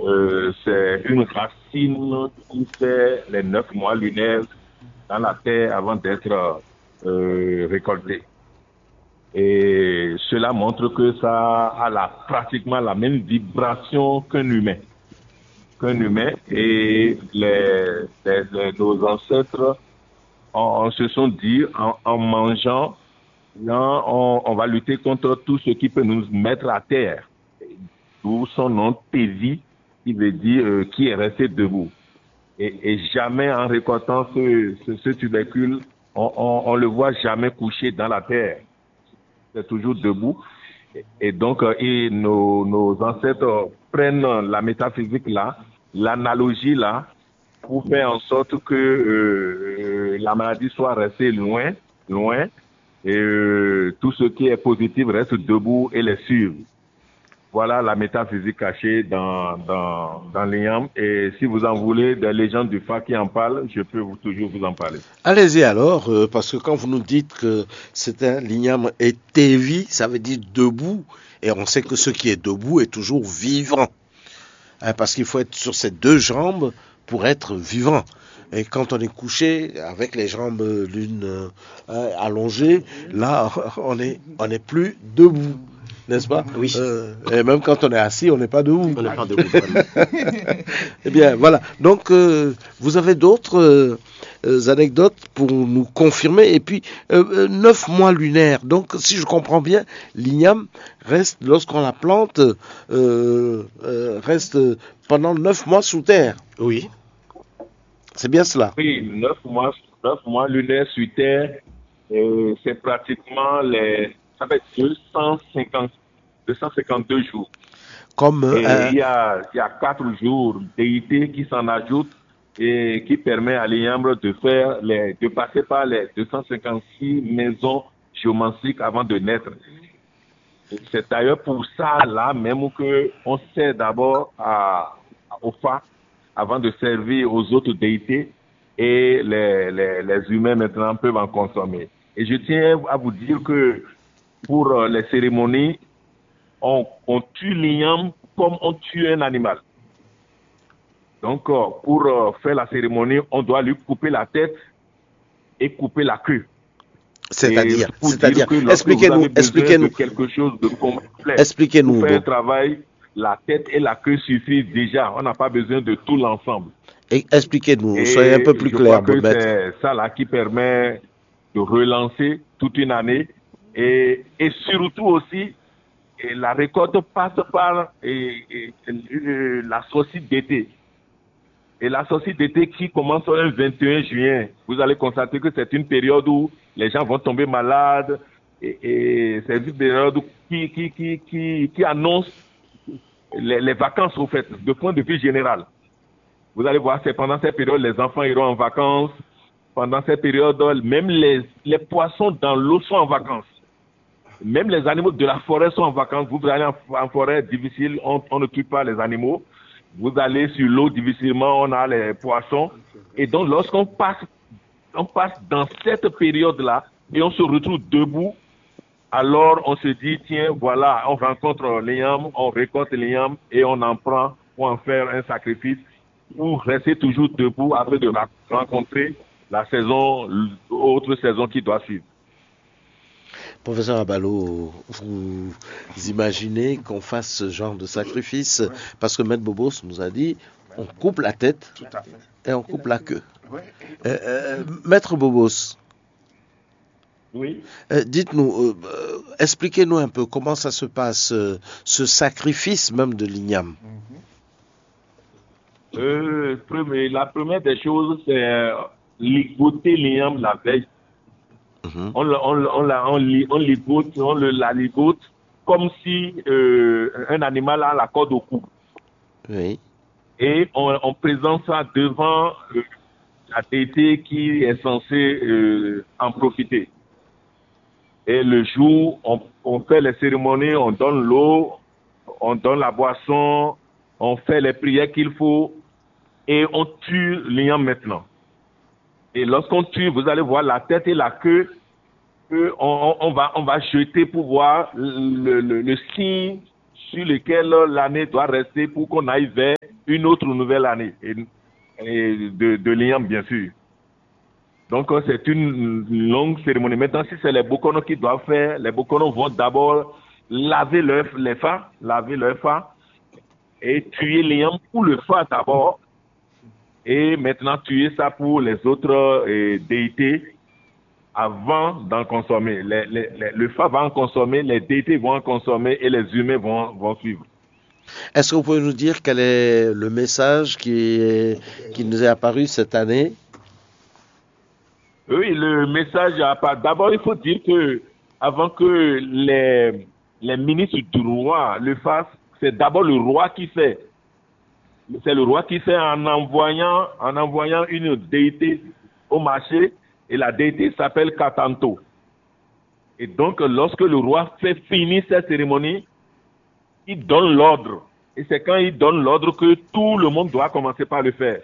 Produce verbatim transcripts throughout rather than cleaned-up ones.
Euh, c'est une racine qui fait les neuf mois lunaires dans la terre avant d'être euh, récoltée. Et cela montre que ça a la, pratiquement la même vibration qu'un humain. Qu'un humain. Et les, les- les- nos ancêtres, on, on se sont dit, en, en mangeant, non, on, on va lutter contre tout ce qui peut nous mettre à terre. D'où son nom, Tévi, qui veut dire euh, qui est resté debout. Et, et jamais en récoltant ce, ce- ce tubercule, on, on- on le voit jamais couché dans la terre. C'est toujours debout. Et donc, euh, et nos, nos ancêtres prennent la métaphysique là, l'analogie là, pour faire en sorte que euh, la maladie soit restée loin, loin, et euh, tout ce qui est positif reste debout et les suivre. Voilà la métaphysique cachée dans, dans, dans l'Inyam. Et si vous en voulez, des légendes du Fa qui en parlent, je peux vous- toujours vous en parler. Allez-y alors, euh, parce que quand vous nous dites que c'est un l'inyam et Tévi, ça veut dire debout. Et on sait que ce qui est debout est toujours vivant. Hein, parce qu'il faut être sur ses deux jambes pour être vivant. Et quand on est couché avec les jambes l'une euh, hein, allongées, là, on est, on n'est plus debout, n'est-ce pas ? Oui. Euh, et même quand on est assis, on n'est pas debout. On n'est pas debout. Vraiment. Eh bien, voilà. Donc, euh, vous avez d'autres euh, euh, anecdotes pour nous confirmer. Et puis, euh, euh, neuf mois lunaires. Donc, si je comprends bien, l'igname reste, lorsqu'on la plante, euh, euh, reste pendant neuf mois sous terre. Oui. C'est bien cela. Oui, neuf mois, neuf mois lunaires sur Terre, euh, c'est pratiquement les, ça fait deux cent cinquante, deux cent cinquante-deux jours. Comme euh, Et un- il y a, il y a quatre jours d'été qui s'en ajoutent et qui permet à l'igname de faire les, de passer par les deux cent cinquante-six maisons géomantiques avant de naître. C'est d'ailleurs pour ça là même que on sert d'abord à, au Fa avant de servir aux autres déités et les, les, les humains maintenant peuvent en consommer. Et je tiens à vous dire que pour euh, les cérémonies, on, on tue l'igname comme on tue un animal. Donc, euh, pour euh, faire la cérémonie, on doit lui couper la tête et couper la queue. C'est-à-dire, Et pour c'est-à-dire, dire que lorsque vous expliquez-nous, avez besoin expliquez-nous, de quelque chose de complet, expliquez-nous, pour faire un Bob. Travail, la tête et la queue suffisent déjà. On n'a pas besoin de tout l'ensemble. Et expliquez-nous, Et soyez un peu plus je clair, crois que Bob. C'est ça là qui permet de relancer toute une année et, et surtout aussi, et la récolte passe par et, et, euh, la sortie d'été. Et la sortie d'été qui commence un vingt et un juin, vous allez constater que c'est une période où les gens vont tomber malades et, et c'est une période qui, qui, qui, qui, qui annonce les, les vacances au fait, de point de vue général. Vous allez voir, c'est pendant cette période les enfants iront en vacances. Pendant cette période, même les, les poissons dans l'eau sont en vacances. Même les animaux de la forêt sont en vacances. Vous allez en, en forêt difficile, on, on ne tue pas les animaux. Vous allez sur l'eau difficilement, on a les poissons. Et donc, lorsqu'on passe, on passe dans cette période-là et on se retrouve debout, alors on se dit, tiens, voilà, on rencontre l'igname, on récolte l'igname et on en prend pour en faire un sacrifice ou rester toujours debout afin de ra- rencontrer la saison, l'autre saison qui doit suivre. Professeur Abalo, vous imaginez qu'on fasse ce genre de sacrifice parce que Maître Bobos nous a dit on coupe la tête Tout à fait. Et on coupe la queue. Oui. Euh, euh, Maître Bobos, Oui. euh, dites-nous, euh, euh, expliquez-nous un peu comment ça se passe, euh, ce sacrifice même de l'igname. Euh, premier- la première des choses, c'est euh, ligoter l'igname la veille. Mhm. On, le- on, le- on, la- on, li- on ligote, on le, la ligote comme si euh, un animal a la corde au cou. Oui. Et on, on présente ça devant euh, la déité qui est censée euh, en profiter. Et le jour, on, on fait les cérémonies, on donne l'eau, on donne la boisson, on fait les prières qu'il faut et on tue l'igname maintenant. Et lorsqu'on tue, vous allez voir la tête et la queue, que on, on- on va, on va jeter pour voir le, le- le signe sur lequel l'année doit rester pour qu'on aille vers une autre nouvelle année et, et de, de l'Igname, bien sûr. Donc, euh, c'est une longue cérémonie. Maintenant, si c'est les Bokono qui doivent faire, les Bokono vont d'abord laver leur, les fa, laver leur fa et tuer l'Igname pour le fa d'abord. Et maintenant, tuer ça pour les autres euh, déités avant d'en consommer. Les- les- les- le fa va en consommer, les déités vont en consommer et les humains vont, vont suivre. Est-ce que vous pouvez nous dire quel est le message qui, est- qui nous est apparu cette année ? Oui, le message à part. D'abord, il faut dire que avant que les, les ministres du roi le fassent, c'est d'abord le roi qui fait. C'est le roi qui fait en envoyant, en envoyant une déité au marché et la déité s'appelle Katanto. Et donc, lorsque le roi fait finir cette cérémonie, il donne l'ordre. Et c'est quand il donne l'ordre que tout le monde doit commencer par le faire.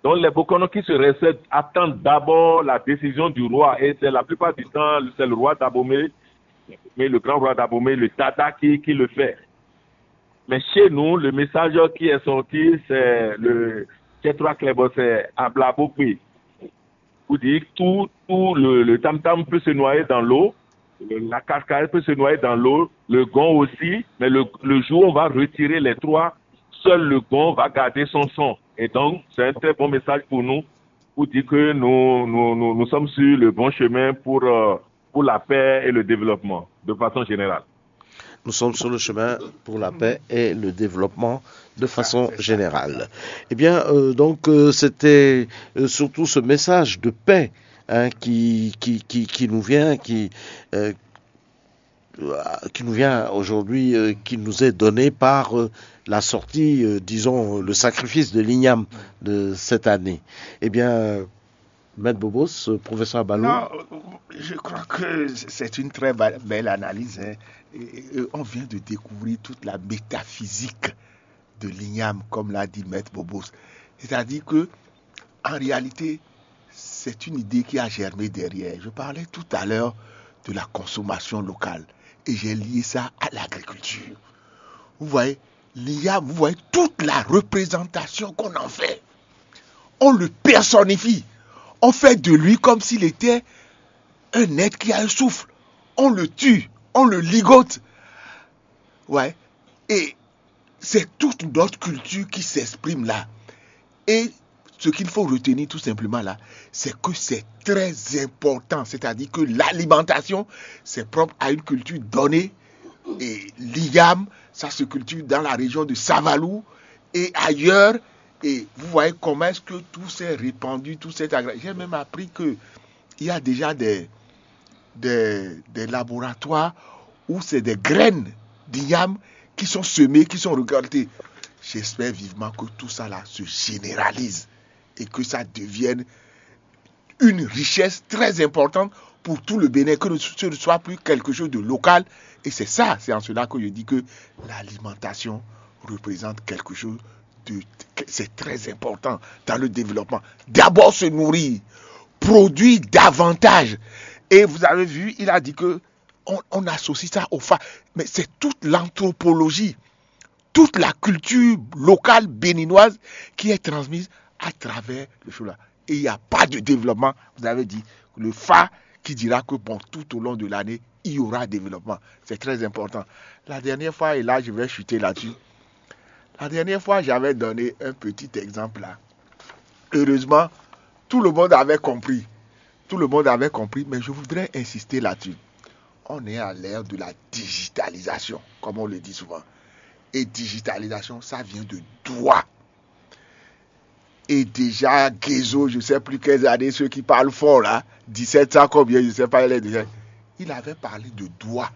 Donc, les Bokono qui se récèdent attendent d'abord la décision du roi. Et c'est la plupart du temps, c'est le roi d'Abomey, mais le grand roi d'Abomey, le Tata, qui, qui le fait. Mais chez nous, le message qui est sorti, c'est le Tchétrois Clébosset à Blabokwi. Vous dites tout, tout le, le tam-tam peut se noyer dans l'eau, le- la cascade peut se noyer dans l'eau, le gong aussi, mais le, le jour où on va retirer les trois, seul le gong va garder son son. Et donc, c'est un très bon message pour nous, pour dire que nous, nous, nous, nous sommes sur le bon chemin pour, euh, pour la paix et le développement, de façon générale. Nous sommes sur le chemin pour la paix et le développement de façon générale. Eh bien, euh, donc, euh, c'était euh, surtout ce message de paix, hein, qui, qui, qui, qui nous vient, qui, euh, euh, qui nous vient aujourd'hui, euh, qui nous est donné par euh, la sortie, euh, disons, le sacrifice de l'Igname de cette année. Eh bien, euh, Maître Bobos, euh, professeur Abalou. Non, euh, je crois que c'est une très ba- belle analyse, hein. Et- et on vient de découvrir toute la métaphysique de l'Igname, comme l'a dit Maître Bobos. C'est-à-dire que, en réalité, c'est une idée qui a germé derrière. Je parlais tout à l'heure de la consommation locale et j'ai lié ça à l'agriculture. Vous voyez, l'Igname, vous voyez, toute la représentation qu'on en fait, on le personnifie. On fait de lui comme s'il était un être qui a un souffle. On le tue, on le ligote. Ouais. Et c'est toute notre culture qui s'exprime là. Et ce qu'il faut retenir tout simplement là, c'est que c'est très important. C'est-à-dire que l'alimentation, c'est propre à une culture donnée. Et l'Igname, ça se cultive dans la région de Savalou et ailleurs. Et vous voyez comment est-ce que tout s'est répandu, tout s'est agrandi. J'ai même appris que il y a déjà des, des, des laboratoires où c'est des graines d'Igname qui sont semées, qui sont récoltées. J'espère vivement que tout ça là se généralise et que ça devienne une richesse très importante pour tout le Bénin, que ce ne soit plus quelque chose de local. Et c'est ça, c'est en cela que je dis que l'alimentation représente quelque chose de, c'est très important dans le développement. D'abord se nourrir, produire davantage. Et vous avez vu, il a dit que on, on associe ça au fa. Mais c'est toute l'anthropologie, toute la culture locale béninoise qui est transmise à travers le show là. Et il n'y a pas de développement. Vous avez dit, le fa qui dira que bon, tout au long de l'année, il y aura développement. C'est très important. La dernière fois, et là je vais chuter là-dessus, la dernière fois, j'avais donné un petit exemple là. Heureusement, tout le monde avait compris. Tout le monde avait compris, mais je voudrais insister là-dessus. On est à l'ère de la digitalisation, comme on le dit souvent. Et digitalisation, ça vient de Douala. Et déjà, Guézo, je ne sais plus quelles années, ceux qui parlent fort là, dix-sept cents combien, je ne sais pas, il est déjà. Il avait parlé de Douala.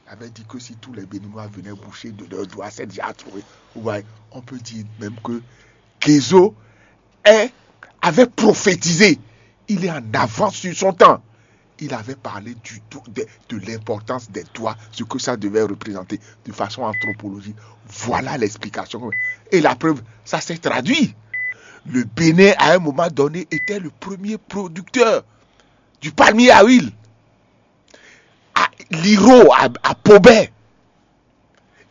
Il avait dit que si tous les Béninois venaient boucher de leurs doigts, c'est déjà trouvé. Vous voyez, on peut dire même que Guézo est, avait prophétisé. Il est en avance sur son temps. Il avait parlé du, de, de l'importance des doigts, ce que ça devait représenter de façon anthropologique. Voilà l'explication. Et la preuve, ça s'est traduit. Le Bénin, à un moment donné, était le premier producteur du palmier à huile. À Liro, à, à Pobé,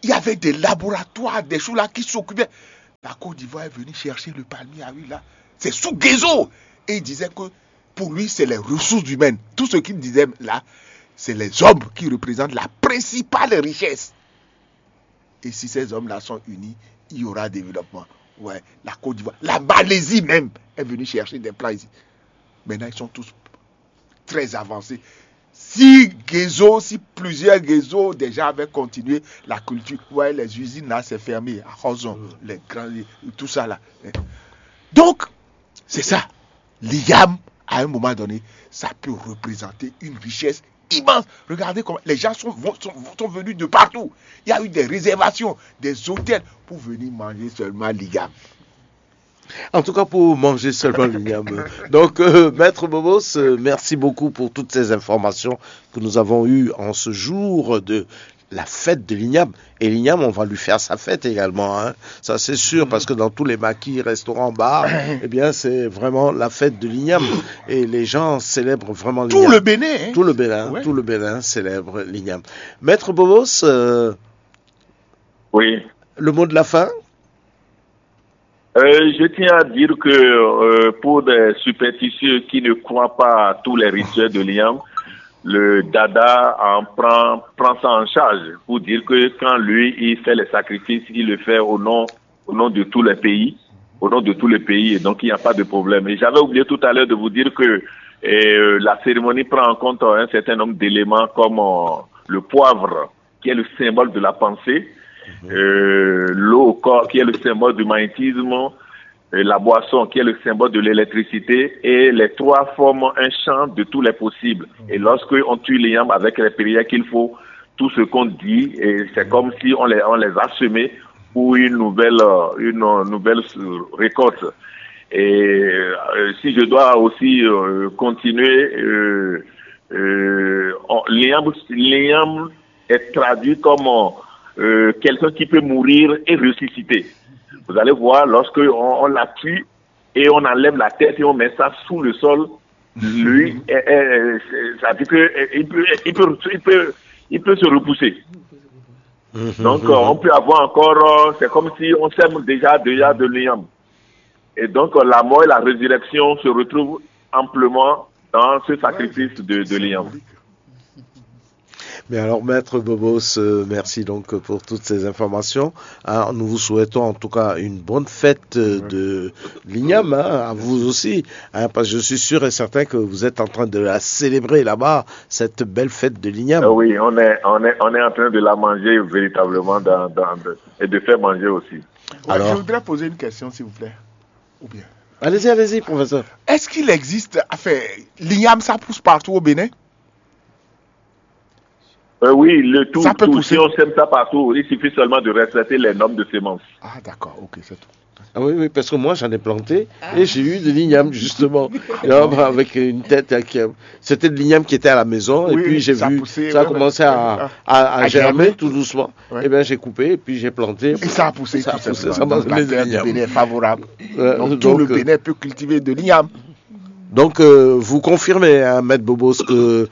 il y avait des laboratoires, des choses là qui s'occupaient. La Côte d'Ivoire est venue chercher le palmier à huile là. C'est sous Guézo. Et il disait que pour lui, c'est les ressources humaines. Tout ce qu'il disait là, c'est les hommes qui représentent la principale richesse. Et si ces hommes-là sont unis, il y aura développement. Ouais, la Côte d'Ivoire, la Malaisie même est venue chercher des plants ici. Maintenant, ils sont tous très avancés. Si Guézo, si plusieurs Guézo déjà avaient continué la culture, ouais, les usines là, c'est fermé. À Roson, les grands, tout ça là. Donc, c'est ça. L'IAM, à un moment donné, ça peut représenter une richesse immense. Regardez comment les gens sont, sont, sont venus de partout. Il y a eu des réservations, des hôtels pour venir manger seulement l'IAM. En tout cas, pour manger seulement l'IAM. Donc, euh, Maître Bobos, euh, merci beaucoup pour toutes ces informations que nous avons eues en ce jour de la fête de l'IAM. Et l'IAM, on va lui faire sa fête également, hein. Ça c'est sûr, parce que dans tous les maquis, restaurants, bars, eh bien, c'est vraiment la fête de l'IAM. Et les gens célèbrent vraiment l'IAM. Tout le Bénin, hein. Tout le Bénin, ouais. Tout le Bénin célèbre l'IAM. Maître Bobos, euh, oui. Le mot de la fin. Euh, je tiens à dire que euh, pour des superstitieux qui ne croient pas à tous les rituels de l'IAM, le Dada en prend, prend ça en charge pour dire que quand lui, il fait les sacrifices, il le fait au nom, au nom de tous les pays, au nom de tous les pays, et donc il n'y a pas de problème. Et j'avais oublié tout à l'heure de vous dire que euh, la cérémonie prend en compte un certain nombre d'éléments comme euh, le poivre, qui est le symbole de la pensée, euh, l'eau au corps, qui est le symbole du magnétisme, et la boisson, qui est le symbole de l'électricité, et les trois forment un champ de tous les possibles. Et lorsque on tue l'IAM avec les prières qu'il faut, tout ce qu'on dit, et c'est comme si on les, on les a semés pour une nouvelle, euh, une nouvelle récolte. Et euh, si je dois aussi euh, continuer, euh, euh, on- l'IAM, l'IAM est traduit comme euh, quelqu'un qui peut mourir et ressusciter. Vous allez voir, lorsque on, on la tue et on enlève la tête et on met ça sous le sol, lui, eh, eh, c'est- ça veut dire que eh, il peut, il peut, il peut, il peut se repousser. Donc, euh, on peut avoir encore, euh, c'est comme si on sème déjà, déjà de l'IAM. Et donc, euh, la mort et la résurrection se retrouvent amplement dans ce sacrifice de, de l'IAM. Mais alors, Maître Bobos, euh, merci donc pour toutes ces informations. Hein, nous vous souhaitons en tout cas une bonne fête euh, de l'IAM, hein, à vous aussi, hein, parce que je suis sûr et certain que vous êtes en train de la célébrer là-bas, cette belle fête de l'IAM. Euh, oui, on est, on, est, on est en train de la manger véritablement dans, dans, de- et de faire manger aussi. Ouais, Alors je voudrais poser une question, s'il vous plaît. Ou bien. Allez-y, allez-y, professeur. Est-ce qu'il existe, enfin, l'IAM, ça pousse partout au Bénin? Euh, oui, le tout, Ça peut tout. Pousser. Si on sème ça partout, il suffit seulement de respecter les normes de sémence. Ah, d'accord, ok, c'est tout. Ah oui, oui, parce que moi j'en ai planté et j'ai eu de l'IAM justement. Et là, avec une tête, avec, euh, c'était de l'IAM qui était à la maison et Oui, puis j'ai ça a vu poussé, ça a ouais, commencé ouais. à, Ah, à, à à germer germer. Tout doucement. Ouais. Et bien j'ai coupé et puis j'ai planté. Et ça a poussé, Ça a tout poussé, simplement. ça m'a Donc, la donné de terre du l'IAM. Bénin est favorable. Euh, Donc, tout donc, le euh, Bénin peut cultiver de l'IAM. Donc euh, vous confirmez, hein, Maître Bobos, que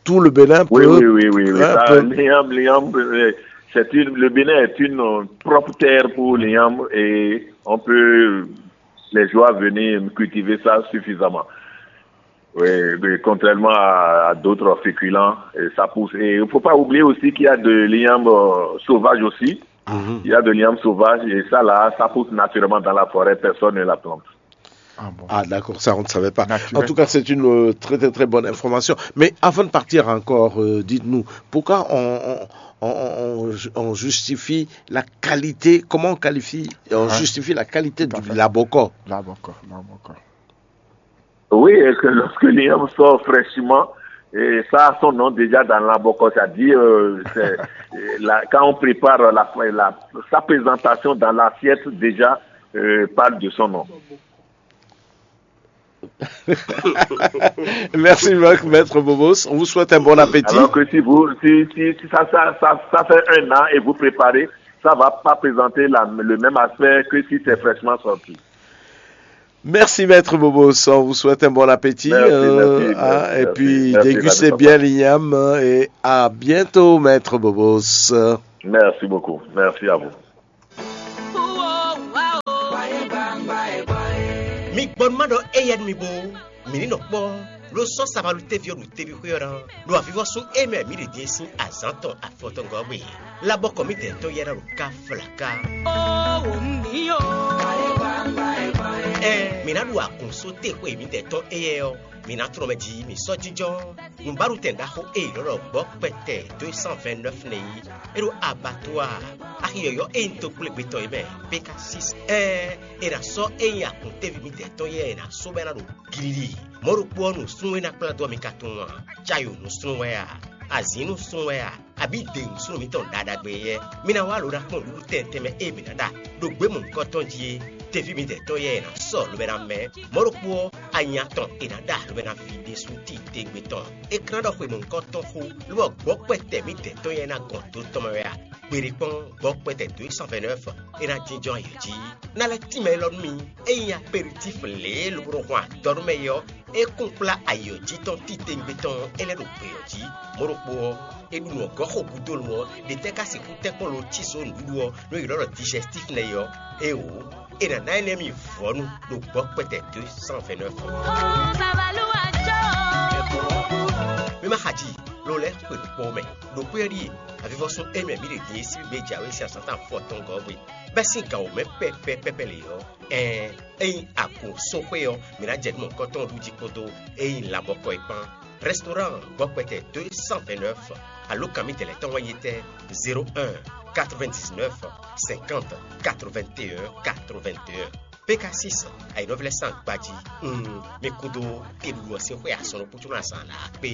tout le Bénin peut. Oui, oui, oui, oui, oui. hein, Ça, peut- l'IAM, l'IAM, euh, c'est une, le Bénin est une euh, propre terre pour l'IAM et on peut, les gens venir cultiver ça suffisamment. Oui, mais contrairement à, à d'autres féculents, et ça pousse. Et il ne faut pas oublier aussi qu'il y a de l'IAM euh, sauvage aussi. Mhm. Il y a de l'IAM sauvage et ça là, ça pousse naturellement dans la forêt, personne ne la plante. Ah bon. Ah d'accord, ça on ne savait pas. Naturel. En tout cas, c'est une euh, très très très bonne information. Mais avant de partir encore, euh, dites-nous, pourquoi on, on, on- on- on justifie la qualité, comment on qualifie, on Ouais. Justifie la qualité Tout à du fait. Laboko? Là, encore, là, encore. Oui, et que lorsque l'IAM sort fraîchement, et ça a son nom déjà dans la boca, c'est-à-dire euh, c'est, euh, la- quand on prépare la, la- sa présentation dans l'assiette, déjà euh, parle de son nom. Merci, Maître Bobos. On vous souhaite un bon appétit. Alors que si vous, si, si, si ça, ça, ça, ça fait un an et vous préparez, ça va pas présenter la- le même aspect que si c'est fraîchement sorti. Merci, Maître Bobos. On vous souhaite un bon appétit. Merci, merci, Hein, merci, et merci. Puis, Merci, dégustez Madame bien l'IAM, hein, et à bientôt, Maître Bobos. Merci beaucoup. Merci à vous. Mi gbɔ nú má ɖɔ éyɛ́ nú mi bó, mǐ ní nɔ kpɔ́, ló sɔ́ sabalú téví ɔ́ ɖo teví xwé ɔ́ ná, ɖo avivɔ́sú e mɛ mǐ ɖe din é sín azǎn tɔn afɔtɔngɔ́ ɔ́ gbe. Labɔkɔ mǐdɛɛ tɔn yɛ́ ná ɖo ká flaká. Ó wǒ mǐ ó. Ɛn mǐ ná ɖu agun só te xwe mǐdɛɛ tɔn éyɛ́ ɔ́, mǐ ná tlɔ́n mɛ jí mǐ sɔ́ jínjɔ́n. Nǔbáɖutɛn ɖaxó e è nɔ ɖɔ gbɔ̌ kpɛtɛ deux cent vingt-neuf nɛ́ yí, é ɖo abattoir axi yɔ̌yɔ́ e nyí tokplégbé tɔn é mɛ, Pékasis. Ɛɛn, è nǎ sɔ́ é nyí akɔntéví mǐdɛɛ tɔn yɛ́ è nǎ sɔ́ bɔ é ná ɖo glili. Mɔ̌ ɖokpó ɔ́, nǔsúnnú e ná kplá dó ɔ mi ka tunwun a? Cayo nǔsúnnú wɛ a? Azǐn nǔsúnnú wɛ a? Abǐ de nǔsúnnú mǐtɔn ɖaɖagbe yɛ́? Mi ná wá lo ná kpɔ́n nǔɖuɖu tɛnmɛ tɛnmɛ e mǐ ná ɖa ɖo gběmɔ̌hunkɔ tɔn jí é. Teví mǐdɛɛ tɔn yɛ́ è nǎ sɔ́ lobo ná mɛ. Mɔ̌ ɖokpó ɔ́, anya tɔn è nǎ ɖa lobo ná ví ɖésú titewungbe tɔn. É klán ɖɔ xwe mɔ̌hunkɔ tɔn xó, lobɔ gbɔ̌ kpɛtɛ mǐdɛɛ tɔn yɛ́ ná gɔn do tɔn mɛ wɛ a? Gbeɖé kpɔ́n, gbɔ̌ kpɛtɛ dǒ e cent vingt-neuf é ná jínjɔ́n ayǐ jí. Ná lɛ́ tínmɛ élɔ́ nú mi. Ényí aperitif lě e lobo nɔ hwan adɔ nú mɛ é ɔ́, é kún kplá ayǐ ɔ́ jí tɔn titewungbe tɔn ɔ́, é lɛ́ ɖo gbě ɔ́ jí. Mɔ̌ ɖokpó ɔ́, è ɖu nǔ ɔ́ gɔ́ xo gúdo lo ɔ́, ɖě tɛ́ ka sixú tɛ́nkpɔ́n lo cí zǒ nǔɖuɖu ɔ́ nú è ylɔ́ ɖɔ dijɛstíf nɛ́ é ɔ́? Éeǒ, è nǎ ná énɛ́ mi vɔ̌nu ɖo gbɔ̌ kpɛtɛ deux cent vingt-neuf. Mi ma xa ji, lo lɛ́ xwe nǔkpɔ́n mɛ. Ɖo xwé ɔ́ ɖíe avivɔ́sún émí mǐ ɖe din e sín gbé jǎwe sín azǎn tɔn afɔtɔngɔ́ ɔ́ gbe, bɛ́ sín gǎn wǒ mɛ pɛ́pɛ́pɛ́pɛ́ lě ɔ́, ɛɛn, ényí a ko sɔ́ xwé ɔ́, mǐ ná jɛ nǔ mɔ̌hunkɔtɔn ɔ́ ɖu jí kpódó ényí labɔkɔ é kpán. Restaurant gbɔ́kpɛtɛ deux cent vingt-neuf, alǒkan mǐtɛn lɛ́ɛ tɔn wɛ nyí étɛ́? Zéro un, quatre-vingt-dix-neuf, cinquante, quatre-vingt-un, quatre-vingt-un. Pékasis, ayǐnɔ́ví lɛ́ɛ sín agbají. Mm, mi kúdó keɖuɖu ɔ́ sín xwé asɔn ɖokpó có ná zǎn lǎ kpé.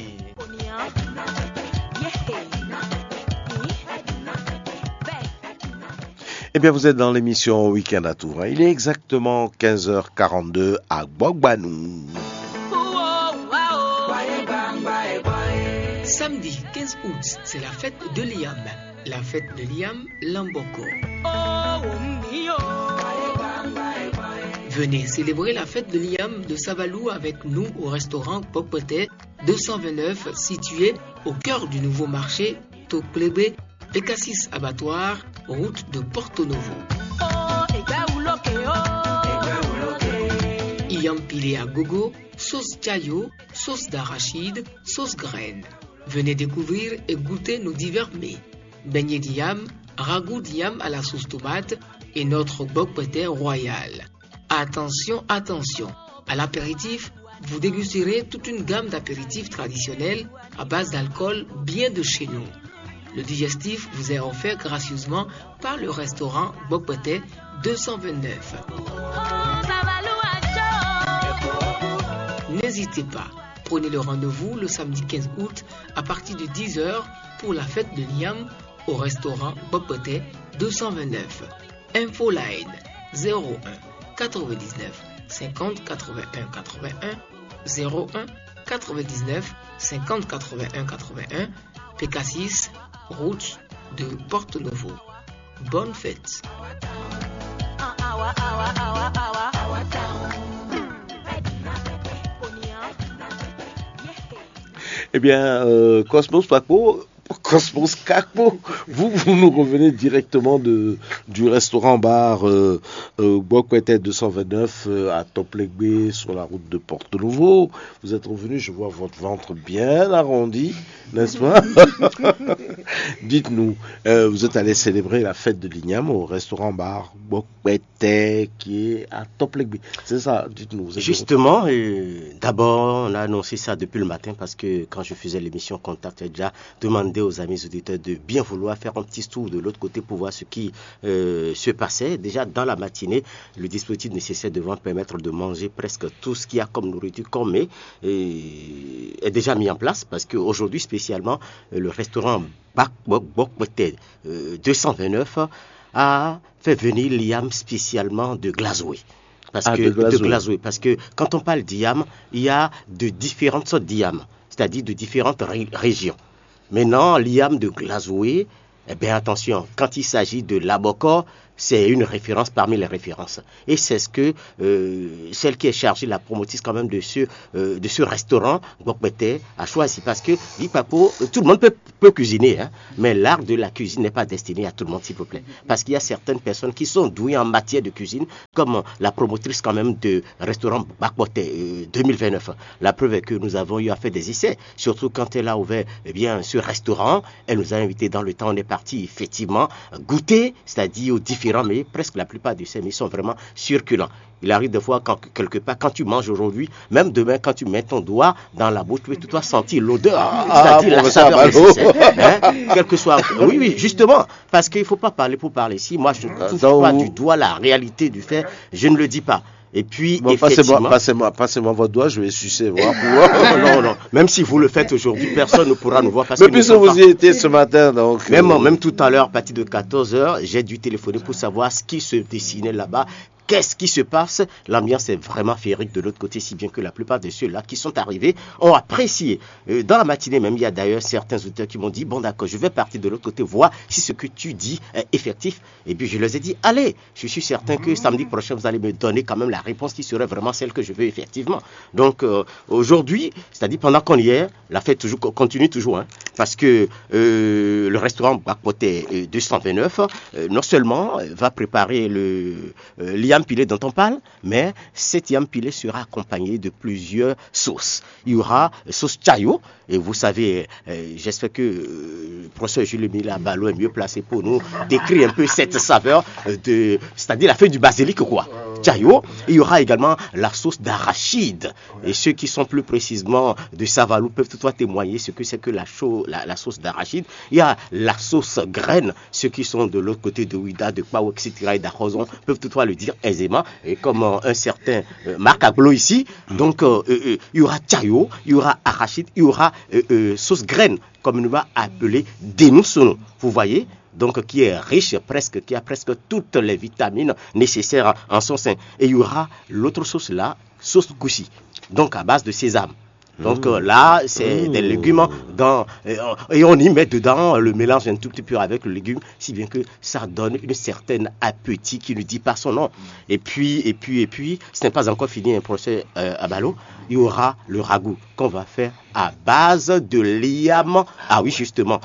Eh bien, vous êtes dans l'émission Week-end à Tours, hein. Il est exactement quinze heures quarante-deux à Gbogbanou. Samedi quinze août, c'est la fête de l'Iam. La fête de l'Iam, Lamboko. Venez célébrer la fête de l'Iam de Savalou avec nous au restaurant Pokpete deux cent vingt-neuf, situé au cœur du nouveau marché Toplebe, Pécassis Abattoir, route de Porto Novo. Iam pilé à gogo, sauce chayo, sauce d'arachide, sauce graine. Venez découvrir et goûter nos divers mets. Beignet d'iam, ragoût d'iam à la sauce tomate et notre bokpete royal. Attention, attention, à l'apéritif, vous dégusterez toute une gamme d'apéritifs traditionnels à base d'alcool bien de chez nous. Le digestif vous est offert gracieusement par le restaurant Bokpete deux cent vingt-neuf. N'hésitez pas, prenez le rendez-vous le samedi quinze août à partir de dix heures pour la fête de l'Iam au restaurant Bokpete deux cent vingt-neuf. Infoline zéro un quatre-vingt-dix-neuf cinquante quatre-vingt-un quatre-vingt-un, zéro un quatre-vingt-dix-neuf cinquante quatre-vingt-un quatre-vingt-un, Pécassis, route de Porto Novo. Bonne fête. Eh bien, euh, Cosmos Paco, Cosmos Kakpo, vous, vous nous revenez directement de, du restaurant-bar euh, euh, Bokwete deux cent vingt-neuf euh, à Toplegbe, sur la route de Porto Novo. Vous êtes revenu, je vois votre ventre bien arrondi, n'est-ce pas? Dites-nous, euh, vous êtes allé célébrer la fête de l'Igname au restaurant-bar Bokwete qui est à Toplegbe. C'est ça, dites-nous. Vous êtes Justement, euh, d'abord, on a annoncé ça depuis le matin parce que quand je faisais l'émission Contact, j'ai déjà demandé aux amis auditeurs de bien vouloir faire un petit tour de l'autre côté pour voir ce qui euh, se passait. Déjà dans la matinée, le dispositif nécessaire devant permettre de manger presque tout ce qu'il y a comme nourriture, comme mets, euh, est déjà mis en place parce qu'aujourd'hui spécialement, euh, le restaurant Bok Bokwete euh, deux cent vingt-neuf a fait venir l'Iam spécialement de Glasgow. Parce Ah, que de de Glasgow. Glasgow, parce que quand on parle d'Iam, il y a de différentes sortes d'Iam, c'est-à-dire de différentes ré- régions. Maintenant, l'Iam de Glasgow, eh bien attention, quand il s'agit de Laboko, c'est une référence parmi les références. Et c'est ce que euh, celle qui est chargée, la promotrice quand même de ce, euh, de ce restaurant, Gbokpete, a choisi. Parce que, Gikpapo, tout le monde peut, peut cuisiner, hein, mais l'art de la cuisine n'est pas destiné à tout le monde, s'il vous plaît. Parce qu'il y a certaines personnes qui sont douées en matière de cuisine, comme la promotrice quand même de restaurant Bakpote euh, deux mille vingt-neuf. La preuve est que nous avons eu à faire des essais, surtout quand elle a ouvert eh bien, ce restaurant. Elle nous a invités dans le temps, on est parti effectivement goûter, c'est-à-dire aux différents, mais presque la plupart de ces mets sont vraiment succulents. Il arrive des fois, quand, quelque part, quand tu manges aujourd'hui, même demain, quand tu mets ton doigt dans la bouche, tu peux tout sentir l'odeur, c'est-à-dire la saveur nécessaire. Hein, quel que soit. Oui, oui, justement. Parce qu'il ne faut pas parler pour parler. Si moi, je ne touche pas du doigt la réalité du fait, je ne le dis pas. Et puis, bon, effectivement... Passez-moi, passez-moi, passez-moi votre doigt, je vais sucer, voir. Non, non. Même si vous le faites aujourd'hui, personne ne pourra nous voir. Parce... Mais que puisque vous y étiez ce matin, donc... Même, euh... même tout à l'heure, à partir de quatorze heures, j'ai dû téléphoner pour savoir ce qui se dessinait là-bas. Qu'est-ce qui se passe ? L'ambiance est vraiment féerique de l'autre côté, si bien que la plupart de ceux-là qui sont arrivés ont apprécié. Euh, dans la matinée même, il y a d'ailleurs certains auteurs qui m'ont dit, bon d'accord, je vais partir de l'autre côté, voir si ce que tu dis est effectif. Et puis je leur ai dit, allez, je suis certain que samedi prochain, vous allez me donner quand même la réponse qui serait vraiment celle que je veux effectivement. Donc euh, aujourd'hui, c'est-à-dire pendant qu'on y est, la fête toujours, continue toujours, hein, parce que euh, le restaurant Bakpote euh, deux cent vingt-neuf, euh, non seulement euh, va préparer le euh, yam pilé dont on parle, mais cette yam pilé sera accompagnée de plusieurs sauces. Il y aura sauce chayo, et vous savez, euh, j'espère que euh, professeur Jules Mila Ballot est mieux placé pour nous décrire un peu cette saveur, euh, de, c'est-à-dire la feuille du basilic, quoi. Chayo, il y aura également la sauce d'arachide. Et ceux qui sont plus précisément de Savalou peuvent toutefois témoigner ce que c'est que la, cho- la, la sauce d'arachide. Il y a la sauce graine, ceux qui sont de l'autre côté de Ouidah, de Kpao, et cetera et d'Arozon peuvent toutefois le dire aisément. Et comme euh, un certain euh, Marc Aglo ici, donc euh, euh, euh, il y aura chayo, il y aura arachide, il y aura euh, euh, sauce graine, comme nous va appeler Denousono. Vous voyez, donc qui est riche presque, qui a presque toutes les vitamines nécessaires en son sein. Et il y aura l'autre sauce là, sauce goussi, donc à base de sésame. Donc euh, là, c'est des légumes dans, euh, et on y met dedans le mélange un tout petit peu avec le légume, si bien que ça donne une certaine appétit qui ne dit pas son nom. Et puis, et puis, et puis, ce n'est pas encore fini un procès euh, à Ballot. Il y aura le ragoût qu'on va faire à base de liam. Ah oui, justement,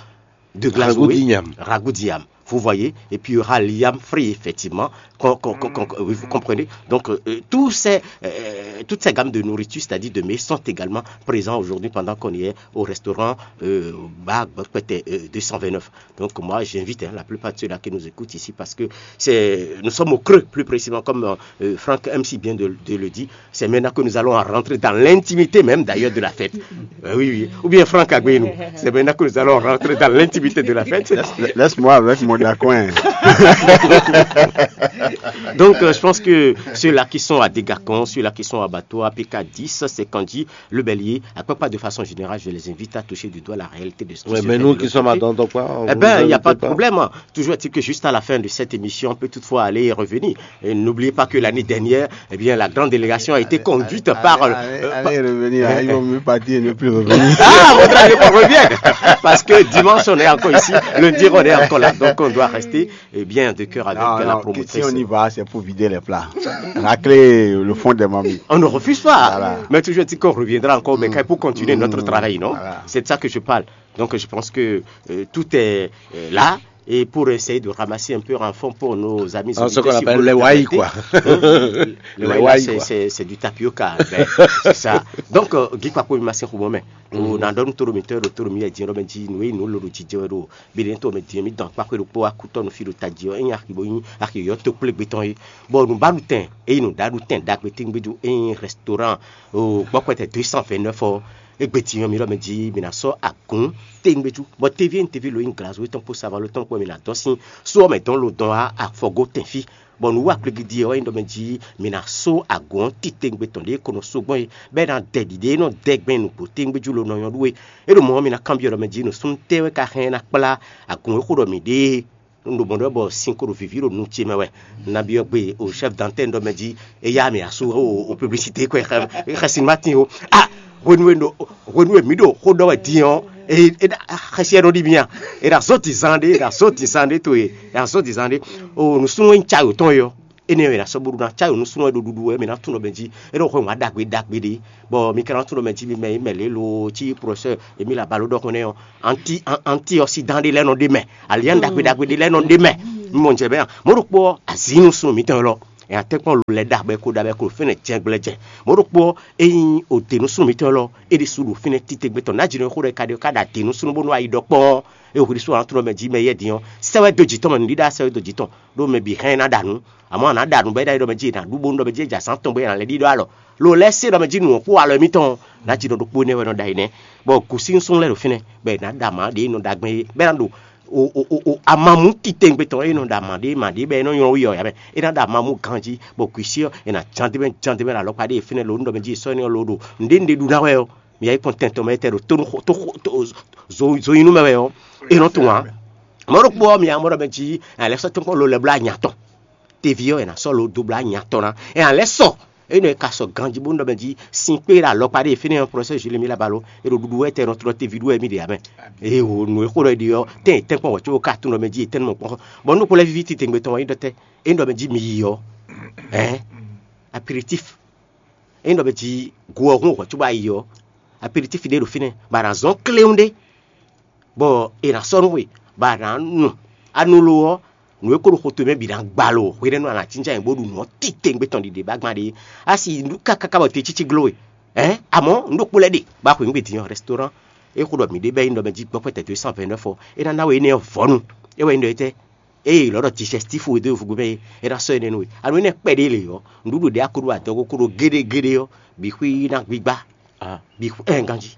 de glace. Ragoût d'igname. Ragoût d'igname. Vous voyez, et puis il y aura liam frit, effectivement. Quand, quand, quand, quand, oui, vous comprenez. Donc, euh, tous ces, euh, toutes ces gammes de nourriture, c'est-à-dire de mets, sont également présents aujourd'hui pendant qu'on y est au restaurant euh, Bar Bokpete, euh, deux cent vingt-neuf. Donc, moi, j'invite hein, la plupart de ceux-là qui nous écoutent ici parce que c'est, nous sommes au creux, plus précisément, comme euh, Franck M C vient de, de le dire. C'est maintenant que nous allons rentrer dans l'intimité même d'ailleurs de la fête. Euh, oui, oui. Ou bien Franck Agbenou, c'est maintenant que nous allons rentrer dans l'intimité de la fête. Laisse-moi avec mon dacoin. Donc, euh, je pense que ceux-là qui sont à Dégacon, ceux-là qui sont à Bateau, à P K dix, c'est Kandy, le Bélier, à peu près de façon générale, je les invite à toucher du doigt la réalité de ce qui se fait de l'autre côté. Mais nous qui sommes à Dandokwa, eh bien, il n'y a pas de problème. Toujours est-il que juste à la fin de cette émission, on peut toutefois aller et revenir. Et n'oubliez pas que l'année dernière, eh bien, la grande délégation a été conduite par... Allez, euh, allez, par- allez revenir, hein, il vaut mieux partir et ne plus revenir. Ah, on ne pas revenir. Parce que dimanche, on est encore ici, lundi, on est encore là. Donc, on doit rester eh bien, de cœur avec non, la non, promotrice. Si on y va, c'est pour vider les plats. Racler le fond des marmites. On ne refuse pas. Voilà. Mais toujours dit qu'on reviendra encore, mais pour continuer notre travail, non ? Voilà. C'est de ça que je parle. Donc, je pense que euh, tout est euh, là. Et pour essayer de ramasser un peu en fonds pour nos amis auditeurs, si vous le permettez. Hein ? Les wai, quoi. Les wai, c'est du tapioca. Ben, c'est ça. Donc, euh, Guy Papo, il m'a dit, mais on a donné tout le miteur, tout le miteur, nous, nous, le Bělɛ́ntɔ́ mɛ din mì dɔn kpáxwé ɖokpó wá kútɔ́ nú fí ɖo tají ɔ́, é nyí axi bó nyí axi yɔ̌yɔ́ tokplé gbé tɔn é. Bɔ nǔɖaɖutɛn é nyí nǔɖaɖutɛn ɖagbe tɛ́ngbé ɖo é nyí restaurant gbɔkpɛtɛ deux cent vingt-neuf ɔ́, égbé din ɔ́ mi ɖɔ mɛ jí mi ná sɔ́ agǔn tɛ́ngbé jú. Bɔ teví e un teví lo nyí glazwé tɔn kpó savalo tɔn kpó mi ná dɔn sín só ɔ́ mɛ dɔn lo dɔn wá afɔgó tɛn fí. Bɔ nǔ wa kplégídí ɔ́ wɛ nyí ɖɔ mɛ jí mi ná só agǔn ɔ́ titewungbe tɔn ɖě ko nɔ só gbɔn é, bɔ é ná dɛ ɖiɖe e nɔ dɛ gbɛn nǔgbó tewungbe jú lo nɔ nyɔ́ ɖú é. É ɖo mɔ̌ ɔ́, mi ná kanbyɔ́ ɖɔ mɛ jí nǔsúnnú tɛ́ wɛ ka hɛn ná kplá agǔn e xo ɖɔ mǐ ɖe é. Un ɖo mɔ̌ ɖɔ bɔ sin ko ɖo vǐví ɖo nu ce mɛ wɛ. Un ná byɔ́ gbe o chef d'antenne ɖɔ mɛ jí é yá mì asú o publicité kɔ é xɛsin ma tín o. Ah, hwenu e mǐ ɖo xó ɖɔ wɛ din ɔ́, Xɛsi ɛ nɔ ɖi mia. È ɖo azɔ́ dizan ɖé, è ɖo azɔ́ dizan ɖé to e, è ɖo azɔ́ dizan ɖé. O nǔsúnnú e nyí cayo tɔn e ɔ́, énɛ́ wɛ è nǎ sɔ́ bónú ná cayo nǔsúnnú e ɖo ɖuɖu wɛ mɛ ná tunwun ɖɔ mɛ jí é nɔ hwɛ wǎn ɖagbe ɖagbe ɖé. Bɔ mi ka ná tunwun ɖɔ mɛ jí mi mɛ yi mɛ lě lo cí professeur Emile Abalo ɖɔ xɔnɛ ɔ́, anti antiɔsidan ɖé lɛ́ɛ nɔ ɖe mɛ, alian ɖagbe ɖagbe ɖé lɛ́ɛ nɔ ɖe mɛ. Mi mɔ jɛ bɛ mɔ̌ ɖokpó ɔ́, azǐ nǔsúnnú mǐtɔn élɔ́ è nǎ tɛ́nkpɔ́n lo lɛ́ɛ ɖa bɔ é ko ɖa bɔ é ko ɖo fínɛ́ jɛngbléjɛn. Mɔ̌ ɖokpó ɔ́, ényí o te nǔsúnnú mǐtɔn élɔ́ é ɖésú ɖo fínɛ́ titewungbe tɔn nǎjínɔ e xó ɖɔ é ka ɖe ɔ́ ka ɖa te nǔsúnnú bónú ayi ɖɔ kpɔ́n ɔ́, é hwe ɖésú ɔ́ ná tunwun ɖɔ mɛ jí mɛ yɛ́ din ɔ́, sɛ́ wɛ dó jǐ tɔn mɛ nǔɖíɖá sɛ́ wɛ dó jǐ tɔn ɖó mɛ bǐ hɛn ná ɖa nǔ. Amɔ̌ a nǎ ɖa nǔ bɔ é ɖo ɖɔ mɛ jí è nǎ ɖu bónú ɖɔ mɛ jí é jɛ azǎn tɔn bɔ é nǎ lɛ́ ɖíɖɔ alɔ. Lo lɛ́ɛ se ɖɔ mɛ jí nǔ ɔ́ kpó alɔ émítɔn ɔ́, nǎjínɔ ɖokpó énɛ́ wɛ nɔ ɖa énɛ́, bɔ gǔsínsún lɛ́ɛ ɖo fínɛ́ bɔ è nǎ ɖa mǎ ɖě e nɔ ɖa gbɛn é bɔ é ná ɖo o o o o amamú titewungbe tɔn e nɔ ɖo ama ɖé ma ɖé bɔ é nɔ nylɔ́ wí ɔ́ yǎ mɛ. É ná ɖo amamú ganjí, bɔ kwǐsi ɔ́, è nǎ ján d'é mɛ ján d'é mɛ ɖo alɔkpa ɖé e fínɛ́ lo nú ɖɔ mɛ jí è sɔ́ énɛ́ ɔ́ lo ɖo nǔɖé nǔɖé ɖu ná wɛ ɔ́, mi yá yi kpɔ́n tɛn tɔn mɛ étɛ́ ɖo tónú xo tó xo tó zo zo nyi nú mɛ wɛ ɔ́, é nɔ tunwun ǎ. Mɔ̌ ɖokpó ɔ́, mi yá mɔ ɖɔ mɛ jí è nǎ lɛ́ sɔ́ tɔ́nkpɔ́n lo lɛ́ bló anya tɔn. Teví ɔ́, è nǎ sɔ́ lo dó bló anya tɔn ná. È nǎ lɛ́ sɔ énɛ́ e ka sɔ ganjí bónú ɖɔ mɛ jí sin kpé ɖo alɔkpa ɖé e fínɛ́ ɔ́, professeur Jules Mila Balo, è ɖo ɖuɖu wɛ tɛ nɔ tlɔ teví ɖu wɛ mì ɖe ǎ mɛ. Eye wǒ nǔ e xó ɖɔ è ɖe ɔ́, tɛ́n è tɛ́nkpɔ́n wɛ̌ có ka tunwun ɖɔ mɛ jí è tɛ́n nɔ mɔ kpɔ́n. Bɔ nú kpó lɛ́ víví titewungbe tɔn wɛ nyí ɖɔ tɛ́ é nyí ɖɔ mɛ jí mi yi ɔ́, ɛ̌, aperitif. É nyí ɖɔ mɛ jí go ɔ́ hún wɛ̌ có bɔ a yi ɔ́, aperitif ɖé ɖo fínɛ́, bɔ a nǎ zɔ́n kléwún ɖé, bɔ è nǎ sɔ́ nú we, bɔ a nǎ nu. A nu lo ɔ́, nǔ e ko ɖo xo towe mɛ bǐ ná gba lo hwenɛ́nu a nǎ jínjɔ́n ayǐ bó ɖu nǔ ɔ́ titewungbe tɔn ɖiɖe bó agban ɖe. A si nǔ káká bɔ te cící gló we. Ɛ̌, amɔ̌ nǔ ɖokpó lɛ́ɛ ɖe bɔ a xweyǐgbe din ɔ́, restaurant e xo ɖɔ mǐ ɖe bɛ́ nyí ɖɔ mɛ jí gbɔ́kpɛ́tɛ́ dó cent vingt-neuf ɔ́, é ná ná we énɛ́ ɔ́ vɔ̌nu. É wɛ nyí ɖɔ étɛ́? Ée lɔ̌ ɖɔ digestif we dó yovógbe mɛ é, é ná sɔ́ énɛ́ nú we. Anu énɛ́ kpɛɖé lě ɔ́, nǔɖuɖu ɖě a ko ɖó adɔgo ko ɖo géɖé géɖé ɔ́, bǐ xwí ná gbígbá. Bǐ xwí ɛn ganjí.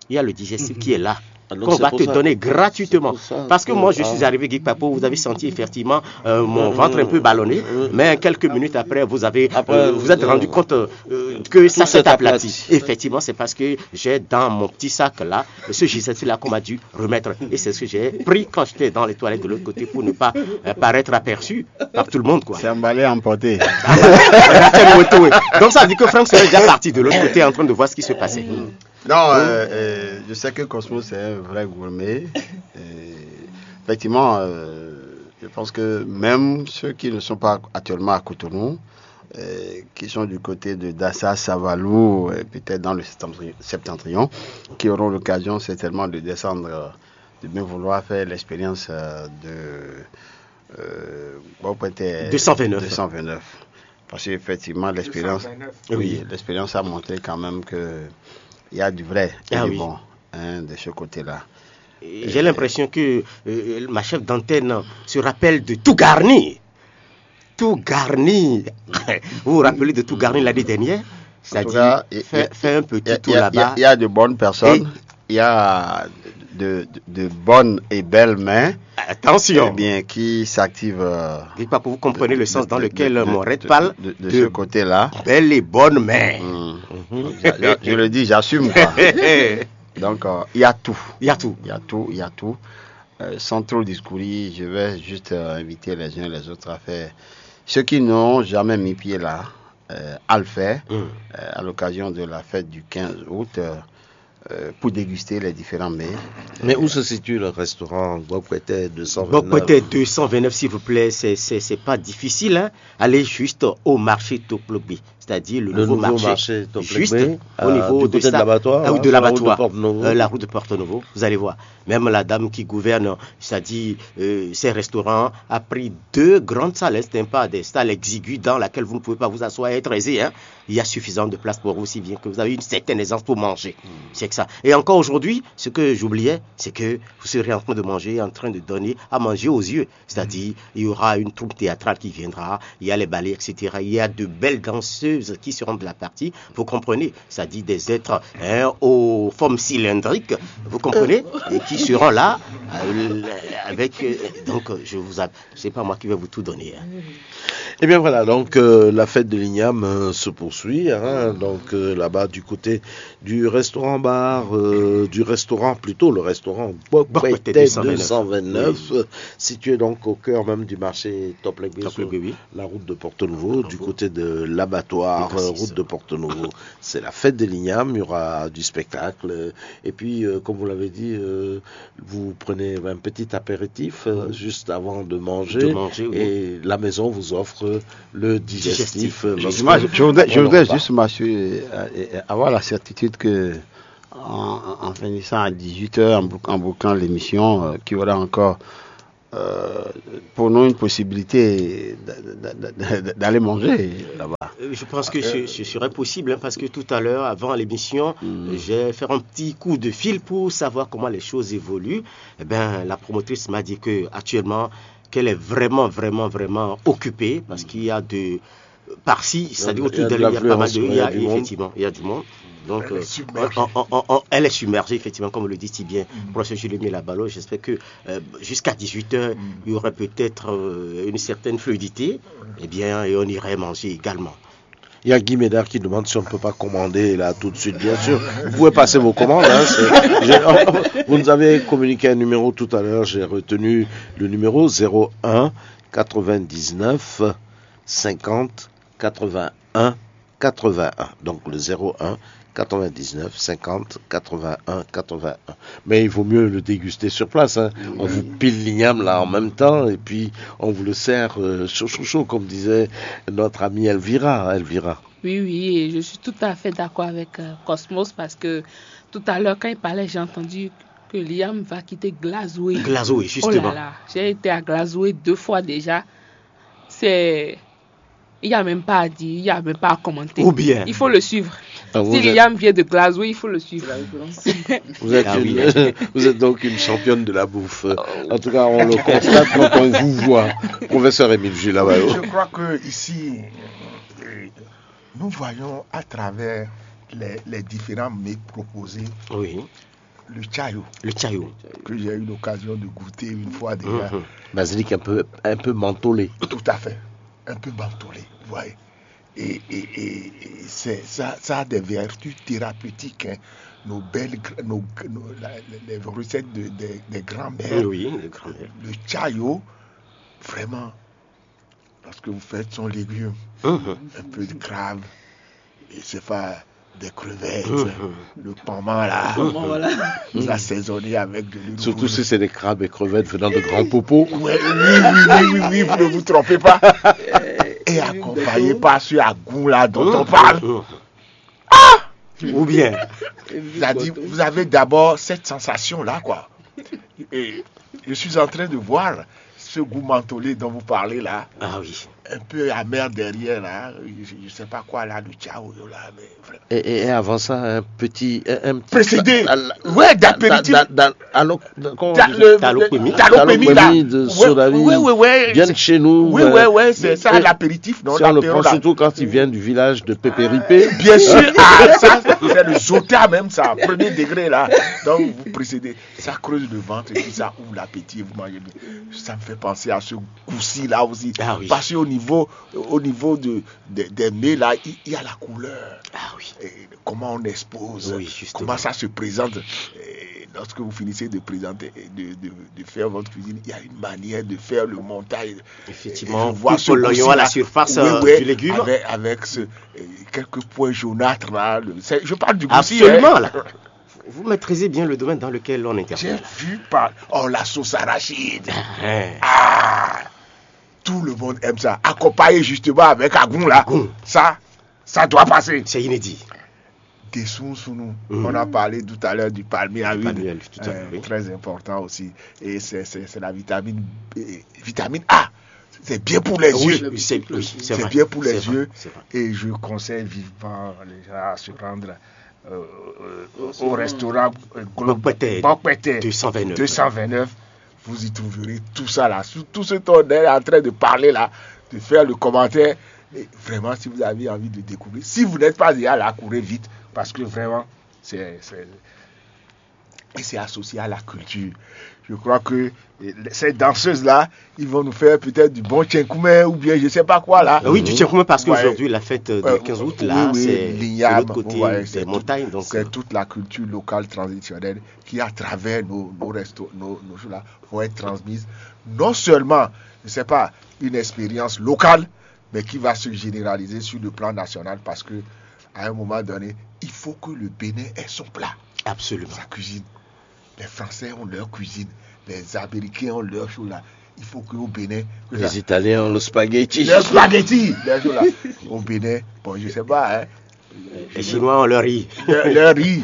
Il y a le digestif qui est là, qu'on va te donner gratuitement. Parce que moi, je suis arrivé, Guy Papo, vous avez senti effectivement euh, mon ventre un peu ballonné, mais quelques minutes après, vous avez, euh, vous êtes rendu compte euh, que ça s'est aplati. Effectivement, c'est parce que j'ai dans mon petit sac là ce digestif là qu'on m'a dû remettre. Et c'est ce que j'ai pris quand j'étais dans les toilettes de l'autre côté pour ne pas euh, paraître aperçu par tout le monde, quoi. C'est emballé, emporté. Donc ça veut dire que Franck serait déjà parti de l'autre côté en train de voir ce qui se passait. Non, euh, euh, je sais que Cosmo, c'est un vrai gourmet. Et effectivement, euh, je pense que même ceux qui ne sont pas actuellement à Cotonou, euh, qui sont du côté de Dassa, Savalou, et peut-être dans le septentrion, qui auront l'occasion certainement de descendre, euh, de bien vouloir faire l'expérience euh, de euh, bon, peut-être deux cent vingt-neuf. Deux cent vingt-neuf. Parce qu'effectivement, l'expérience, oui, l'expérience a montré quand même que il y a du vrai et du bon hein, de ce côté-là. J'ai l'impression que euh, ma chef d'antenne se rappelle de Tougarni. Tougarni. Vous vous rappelez de Tougarni l'année dernière? C'est-à-dire, fait, un petit tour là-bas. Il y a de bonnes personnes, il y a de, de, de bonnes et belles mains. Attention. Eh bien, qui s'activent. Euh, Dites pas que vous comprenez le sens dans lequel mon rêve parle de, de, de, ce côté-là. Belles et bonnes mains. Mm. Je, je, je le dis, j'assume. Quoi. Donc, euh, il y a tout. Il y a tout. Il y a tout, il y a tout. Euh, sans trop discourir, je vais juste euh, inviter les uns et les autres à faire. Ceux qui n'ont jamais mis pied là, euh, à le faire euh, à l'occasion de la fête du quinze août euh, euh, pour déguster les différents mets. Mais où se situe le restaurant Gbɔkpɛtɛ deux cent vingt-neuf? Gbɔkpɛtɛ deux cent vingt-neuf, s'il vous plaît, c'est, c'est, c'est pas difficile. Hein. Allez juste au marché Toplogbe, c'est-à-dire le, le nouveau, nouveau marché, marché juste euh, au niveau du côté de, de l'abattoir, euh, de l'abattoir, euh, la route de Porto-Novo. Vous allez voir. Même la dame qui gouverne, c'est-à-dire euh, ces restaurants, a pris deux grandes salles. Ce n'est pas des salles exiguës dans lesquelles vous ne pouvez pas vous asseoir et être aisé. Hein. Il y a suffisamment de place pour vous, si bien que vous avez une certaine aisance pour manger. C'est que ça. Et encore aujourd'hui, ce que j'oubliais, c'est que vous serez en train de manger, en train de donner à manger aux yeux. C'est-à-dire, il y aura une troupe théâtrale qui viendra, il y a les ballets, et cetera. Il y a de belles danseuses qui seront de la partie, vous comprenez, c'est-à-dire des êtres hein, aux formes cylindriques, vous comprenez, et qui seront là euh, avec. Euh, donc, je vous, a... c'est pas moi qui vais vous tout donner. Hein. Eh bien voilà, donc euh, la fête de l'igname euh, se poursuit, hein, donc euh, là-bas du côté du restaurant bar, euh, du restaurant plutôt, le restaurant Bokbete deux cent vingt-neuf, situé donc au cœur même du marché Top Legbé, sur la route de Porto Novo, du côté de l'abattoir, route de Porto Novo. C'est la fête de l'igname, il y aura du spectacle, et puis euh, comme vous l'avez dit, euh, vous prenez un petit apéritif euh, juste avant de manger, et la maison vous offre le digestif. Euh, je voudrais, je voudrais juste m'assurer, euh, avoir la certitude que en, en finissant à dix-huit heures, en, bou- en bouclant l'émission, euh, qu'il y aura encore euh, pour nous une possibilité d- d- d- d- d'aller manger là-bas. Euh, Je pense que ce, ce serait possible hein, parce que tout à l'heure, avant l'émission, j'ai fait un petit coup de fil pour savoir comment les choses évoluent. Eh ben, la promotrice m'a dit que actuellement qu'elle est vraiment, vraiment, vraiment occupée parce qu'il y a de par-ci, c'est-à-dire autour d'elle, il y a pas mal de, il y a effectivement, il y a du monde. Donc, euh, on- on- on- on- elle est submergée, effectivement, comme le dit si bien professeur Julien Labalo. J'espère que euh, jusqu'à dix-huit heures, il y aurait peut-être euh, une certaine fluidité. Eh bien, et on irait manger également. Il y a Guy Médard qui demande si on ne peut pas commander là tout de suite. Bien sûr, vous pouvez passer vos commandes. Hein, c'est- j'ai- vous nous avez communiqué un numéro tout à l'heure. J'ai retenu le numéro zéro un quatre-vingt-dix-neuf cinquante quatre-vingt-un quatre-vingt-un. Donc le zéro un quatre-vingt-dix-neuf cinquante quatre-vingt-un quatre-vingt-un. Mais il vaut mieux le déguster sur place. Hein. On vous pile l'igname là en même temps et puis on vous le sert euh, chaud, chaud, chaud, comme disait notre amie Elvira. Elvira. Oui, oui, et je suis tout à fait d'accord avec euh, Cosmos parce que tout à l'heure, quand il parlait, j'ai entendu que Liam va quitter Glasgow. Glasgow, Oh justement. Là là, j'ai été à Glasgow deux fois déjà. C'est. Il n'y a même pas à dire, il n'y a même pas à commenter. Ou bien. Il faut le suivre. Ah, vous Si êtes- Liam vient de Glasgow, il faut le suivre. Vous êtes, Ah oui, une- vous êtes donc une championne de la bouffe. En tout cas, on le constate quand on vous voit. Professeur Émile Gilles Labayo. Je crois que ici, euh, nous voyons à travers les, les différents mets proposés Oui, le chayo le chayo. Que j'ai eu l'occasion de goûter une fois déjà. Mhm. Basilic un peu, un peu mentholé. Tout à fait. Un peu mentholé, vous voyez. Et, et- et- et c'est- ça, ça a des vertus thérapeutiques. Hein. Nos belles, gr- nos, nos- la- les recettes de- des- des grands-mères, Oui, le grand-mère. Le chayo, vraiment, lorsque vous faites son légume, Mhm. Un peu de crabe, et c'est pas des crevettes, le piment là, vous assaisonnez avec de l'huile Surtout rouge. Si c'est des crabes et crevettes venant de grands popos. Ouais, oui, oui, oui, oui, oui, vous ne vous trompez pas. Et accompagné par ce agou là dont on parle. Ou bien. C'est-à-dire, vous avez d'abord cette sensation-là, quoi. Et je suis en train de voir ce goût mentholé dont vous parlez là, Ah oui. Un peu amer derrière là, je ne sais pas quoi là, le chayo là, mais vraiment. Et, et- et avant ça, un petit. Un, un petit Précédé. Dans- dans- Ouais, d'apéritif. dans- dans- dans- alors, comment on T'as dit le- T'as le le- pemi. t'as le pemi, là. Talopemi de Ouais, Sodavi. ouais, ouais, ouais. Viennent chez nous. Oui, euh, ouais, ouais, c'est ça, et- l'apéritif, non, Si on le l'apéro, prend là. Surtout quand il vient du village de Pépéripé. Bien sûr, ah, ça, c'est le jota même, ça, premier degré, là. Donc, vous précédez. Ça creuse le ventre et puis ça ouvre l'appétit, vous mangez bien. Ça me fait penser à ce goût-ci, là aussi. Ah oui. Parce qu'au niveau, au niveau de, de- des mets, là, il il y a la couleur. Ah oui. Et comment on expose, Oui, justement. Comment ça se présente. Et lorsque vous finissez de présenter, de, de- de faire votre cuisine, il y a une manière de faire le montage. Effectivement, Et je vois coupe ce l'oignon goût-ci, à la là. surface Oui, euh, ouais, du légume. Avec, avec ce, euh, quelques points jaunâtres là. Le- c'est- je parle du goût-ci, Absolument, hein. Là. Vous maîtrisez bien le domaine dans lequel on J'ai intervient. Vu par. Oh, la sauce arachide. Hein. Ah, tout le monde aime ça. Accompagné justement avec agou là. Ça, ça doit passer. C'est inédit. Des sous nous. On a parlé tout à l'heure du palmier à huile. Palmier à huile, tout à fait, Euh, oui. Très important aussi. Et c'est c'est- c'est la vitamine, euh, vitamine A. C'est bien pour les yeux. Oui, c'est oui, c'est C'est vrai, bien pour les c'est vrai, yeux. C'est vrai. Et je conseille vivement les gens à se rendre euh, euh, au restaurant euh, Glo- Bokbete. Bokbete Deux cent vingt-neuf. deux cent vingt-neuf. Vous y trouverez tout ça là. Tout, tout ce qu'on est en train de parler là, de faire le commentaire. Et vraiment, si vous avez envie de découvrir, si vous n'êtes pas déjà là, courez vite. Parce que vraiment, c'est. c'est- et c'est associé à la culture. Je crois que euh, ces danseuses-là, ils vont nous faire peut-être du bon tchenkoumé ou bien je sais pas quoi là. Oui, du tchenkoumé parce qu'aujourd'hui, la fête du quinze août, là, c'est de l'autre côté des montagnes. Donc, c'est toute la culture locale traditionnelle qui, à travers nos, nos restos, nos, nos choses-là, vont être transmises. Non seulement, je sais pas, une expérience locale, mais qui va se généraliser sur le plan national parce que à un moment donné, il faut que le Bénin ait son plat, absolument, sa cuisine. Les Français ont leur cuisine, les Américains ont leur chose là. Il faut qu'au Bénin, que Les Italiens ont le spaghetti. Leur spaghetti, leur chose là. Au Bénin, bon, je sais pas, hein, Les Chinois ont leur riz. leur, leur riz.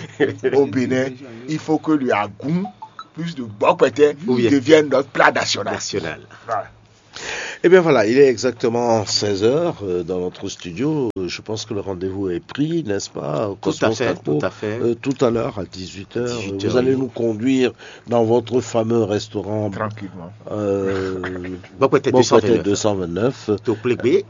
Au Bénin, il faut que le agou, plus de bokweté, Oui. devienne notre plat national. National. Voilà. Eh bien voilà, il est exactement seize heures euh, dans notre studio. Euh, Je pense que le rendez-vous est pris, n'est-ce pas, Tout à Cosmos fait, Kakpo ? Tout à fait. Euh, tout à l'heure à dix-huit heures, euh, Dix-huit heures, vous allez oui. Nous conduire dans votre fameux restaurant Tranquillement. euh, Tranquillement. Bokwete Bokwete deux cent vingt-neuf. deux cent vingt-neuf. Toklegbe.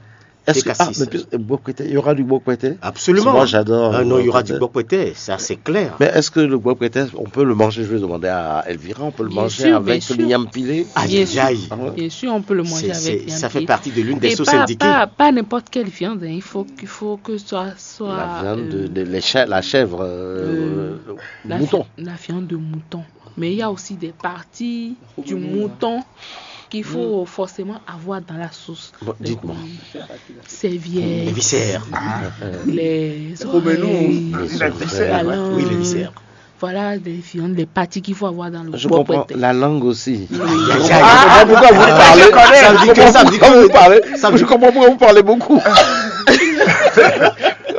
Est-ce que, ah, T K six. Mais puis, euh, Bokwete, il y aura du Bokwete ? Absolument. Moi, j'adore Ah le non, il y aura du Bokwete. Bokwete, ça c'est clair. Mais est-ce que le Bokwete, on peut le manger ? Je vais demander à Elvira, on peut le Bien manger sûr, avec bien sûr. Liam Pilé ? Aïe, aïe, aïe. Ah ouais. Bien sûr, on peut le manger C'est- avec c'est- Liam Ça fait Pilé. partie de l'une des Et sauces pas, indiquées. Pas, pas n'importe quelle viande, hein. Il faut, il faut que ce soit, soit La viande, euh, de, de- les chè- la chèvre, euh, euh, le la, mouton. fi- la viande de mouton. Mais il y a aussi des parties du mouton qu'il faut forcément avoir dans la sauce. Bon, Les dites-moi. couilles, serviettes, Les viscères. les Romelu, oreilles, il a dit la ça. langue. Oui, les viscères. Voilà, les viandes, les parties qu'il faut avoir dans le Je comprends bokwete. La langue aussi. Aïe, Je aïe, comprends aïe. pas pourquoi vous Ah, parlez. je connais. Ça me dit Je que, ça me dit comprends pourquoi vous que. parlez. Ça me Je dit- comprends pourquoi vous parlez beaucoup.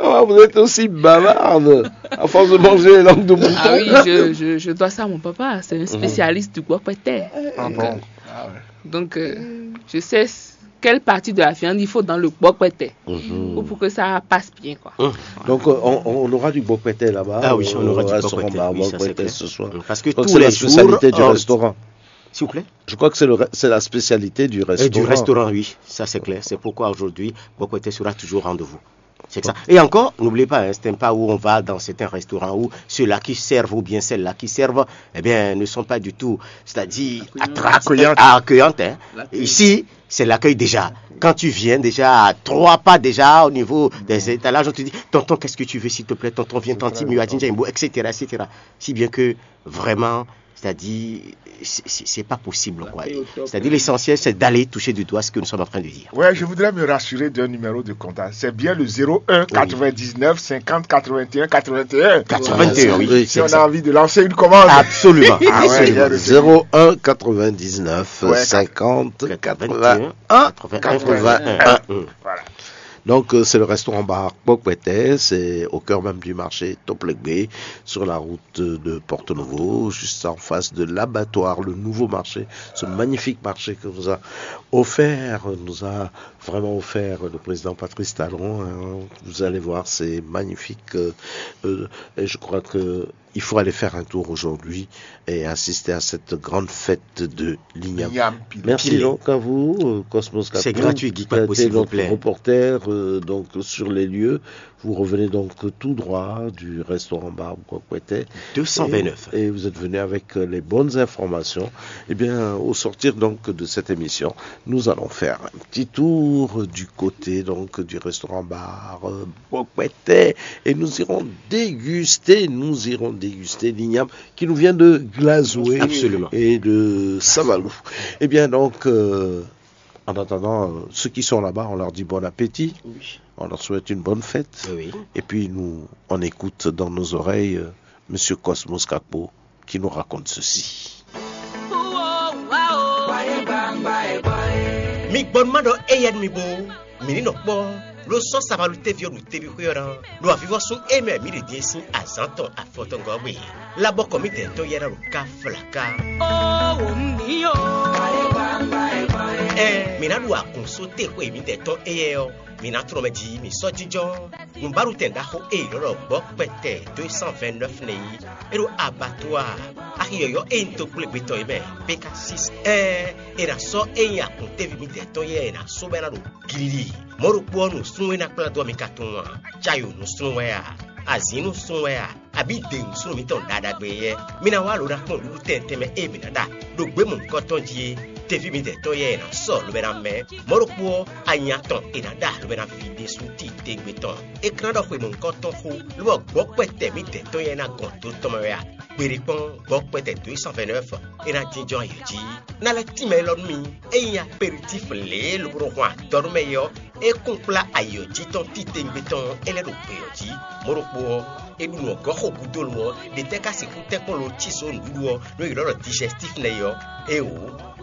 Oh, vous êtes aussi bavarde. À force de manger les langues de mouton. Ah oui, je, je, je dois ça à mon papa. C'est un spécialiste du bokwete. Ah Donc, bon. euh, donc, euh, je sais s- quelle partie de la viande il faut dans le bokwete Mhm. pour, pour que ça passe bien, quoi. Donc, euh, on, on aura du bokwete là-bas. Ah oui, on aura au du restaurant bokwete, Bar oui, ça, c'est Bokwete clair. ce soir. Parce que Donc, tous c'est les la jours, spécialité du euh, restaurant. S'il vous plaît. Je crois que c'est le re- c'est la spécialité du Et restaurant. du restaurant, oui, ça c'est clair. C'est pourquoi aujourd'hui, Bokwete sera toujours au rendez-vous. C'est ça. Et encore, n'oubliez pas, hein, c'est un pas où on va dans certains restaurants où ceux-là qui servent ou bien celles-là qui servent, eh bien, ne sont pas du tout, c'est-à-dire attractives, Accueillantes. Ah, accueillantes, hein. Ici, c'est l'accueil déjà. Quand tu viens déjà à trois pas déjà au niveau des étalages, on te dit, tonton, qu'est-ce que tu veux, s'il te plaît, tonton, viens, tantine, miwa, jinja, imbo, et cetera, et cetera. Si bien que vraiment, c'est-à-dire, c'est- c'est c'est pas possible, quoi. C'est-à-dire, l'essentiel, c'est d'aller toucher du doigt ce que nous sommes en train de dire. Ouais, je voudrais me rassurer d'un numéro de contact. C'est bien le zéro un quatre-vingt-dix-neuf cinquante quatre-vingt-un quatre-vingt-un. quatre-vingt-un, oui. Oui, Si c'est on ça. A envie de lancer une commande. Absolument. Ah ouais, j'ai reçu. Zéro un quatre-vingt-dix-neuf Ouais, cinquante quatre-vingt-un, quatre-vingt-un quatre-vingt-un. quatre-vingt-un. Voilà. Donc, euh, c'est le restaurant bar Bokwete, c'est au cœur même du marché Toplegbe, sur la route de Porto Novo, juste en face de l'abattoir, le nouveau marché, ce magnifique marché que nous a offert, nous a vraiment offert le président Patrice Talon, hein. Vous allez voir, c'est magnifique. Euh, euh, et je crois que il faut aller faire un tour aujourd'hui et assister à cette grande fête de l'Igname. Liam Pilé. Merci Pilé. Donc à vous, euh, Cosmos C'est Kakpo, gratuit, Guy qui a Kakpo, été s'il vous notre plaît. Reporter euh, donc sur les lieux. Vous revenez donc tout droit du restaurant Bar Bokwete. Deux cent vingt-neuf. Et, et vous êtes venu avec euh, les bonnes informations. Eh bien, au sortir donc de cette émission, nous allons faire un petit tour du côté donc du restaurant Bar euh, Bokwete et nous irons déguster, nous irons déguster l'igname qui nous vient de Glazoué Absolument. Et de Savalou. Eh bien donc, euh, en attendant, euh, ceux qui sont là-bas, on leur dit bon appétit, on leur souhaite une bonne fête. Oui. Et puis nous, on écoute dans nos oreilles euh, Monsieur Cosmos Kakpo qui nous raconte ceci. Mi gbɔn ma ɖɔ éyɛ́ nú mi bó mi ní nɔ kpɔ́ ló sɔ́ sabalú téví ɔ́ ɖo téví xwé ɔ́ ná ɖo avivɔ́sún é mɛ mǐ ɖě ɖíe sín azǎn tɔn afɔtɔngɔ́ gbe. Labɔkɔ mǐdɛɛ tɔn yɛ́ ná ɖo ká flaká. Ɛ mǐ ná ɖu agun só te xwe mǐdɛɛ tɔn éyɛ́ ɔ́, mǐ ná tlɔ́n mɛ jí mǐ sɔ́ jínjɔ́n. Nǔbáɖutɛn ɖaxó e è nɔ ɖɔ gbɔ̌ kpɛtɛ deux cent vingt-neuf nɛ́ é ɖo abattoir axi yɔ̌yɔ́ e nyí dó kplé gbetɔ́ é mɛ, P K six. Ɛɛ, è nǎ sɔ́ é nyí akɔ́ntɛ́ví mǐdɛɛ tɔn yɛ́ è nǎ sɔ́ bɔ é ná ɖo glílí. Mɔ̌ ɖokpó ɔ́, nǔsúnnú e ná kplá dó ɔ́ mi ka tunwun a? Cayo nǔsúnnú wɛ a? Azǐn nǔsúnnú wɛ a? abǐ de nǔsúnnú mǐtɔn ɖaɖagbe yɛ́, mi ná wá lo ná kpɔ́n nǔɖuɖu tɛnmɛ tɛnmɛ e mǐ ná ɖa ɖo gběmɔ̌hunkɔtɔn jí é. Teví mitɔn yɛ́ è nǎ sɔ́ lobɛ́ ná mɛ. Mɔ̌ ɖokpó ɔ́, anya tɔn è nǎ ɖa lobɛ́ ná ví ɖésú titewungbe tɔn. É ka ná ɖɔ xwe mɔ̌hunkɔtɔn xó, lobɔ gbɔ̌kpɛtɛ mǐtɛn tɔn yɛ́ ná gɔn do tɔn mɛ wɛ a? Gbeɖé kpɔ́n gbɔ̌kpɛtɛ dó e cent vingt-neuf è nǎ jínjɔ́n ayǐ jí. Ná lɛ́ tínmɛ élɔ́ nú mi. Ényí aperitif lě e lobo nɔ hwan adɔ nú mɛ é ɔ́, é kún kplá ayǐ ɔ́ jí tɔn titewungbe tɔn ɔ́, é lɛ́ ɖo gbě ɔ́ jí. Mɔ̌ ɖokpó ɔ́, é ɖu nǔ ɔ́ gɔ́ xo gúdo lo ɔ́, ɖě tɛ́ ka sixú tɛ́nkpɔ́n lo cí só nǔɖuɖu ɔ́, nú è ylɔ́ ɖɔ digestif nɛ́ é ɔ́? Éeǒ,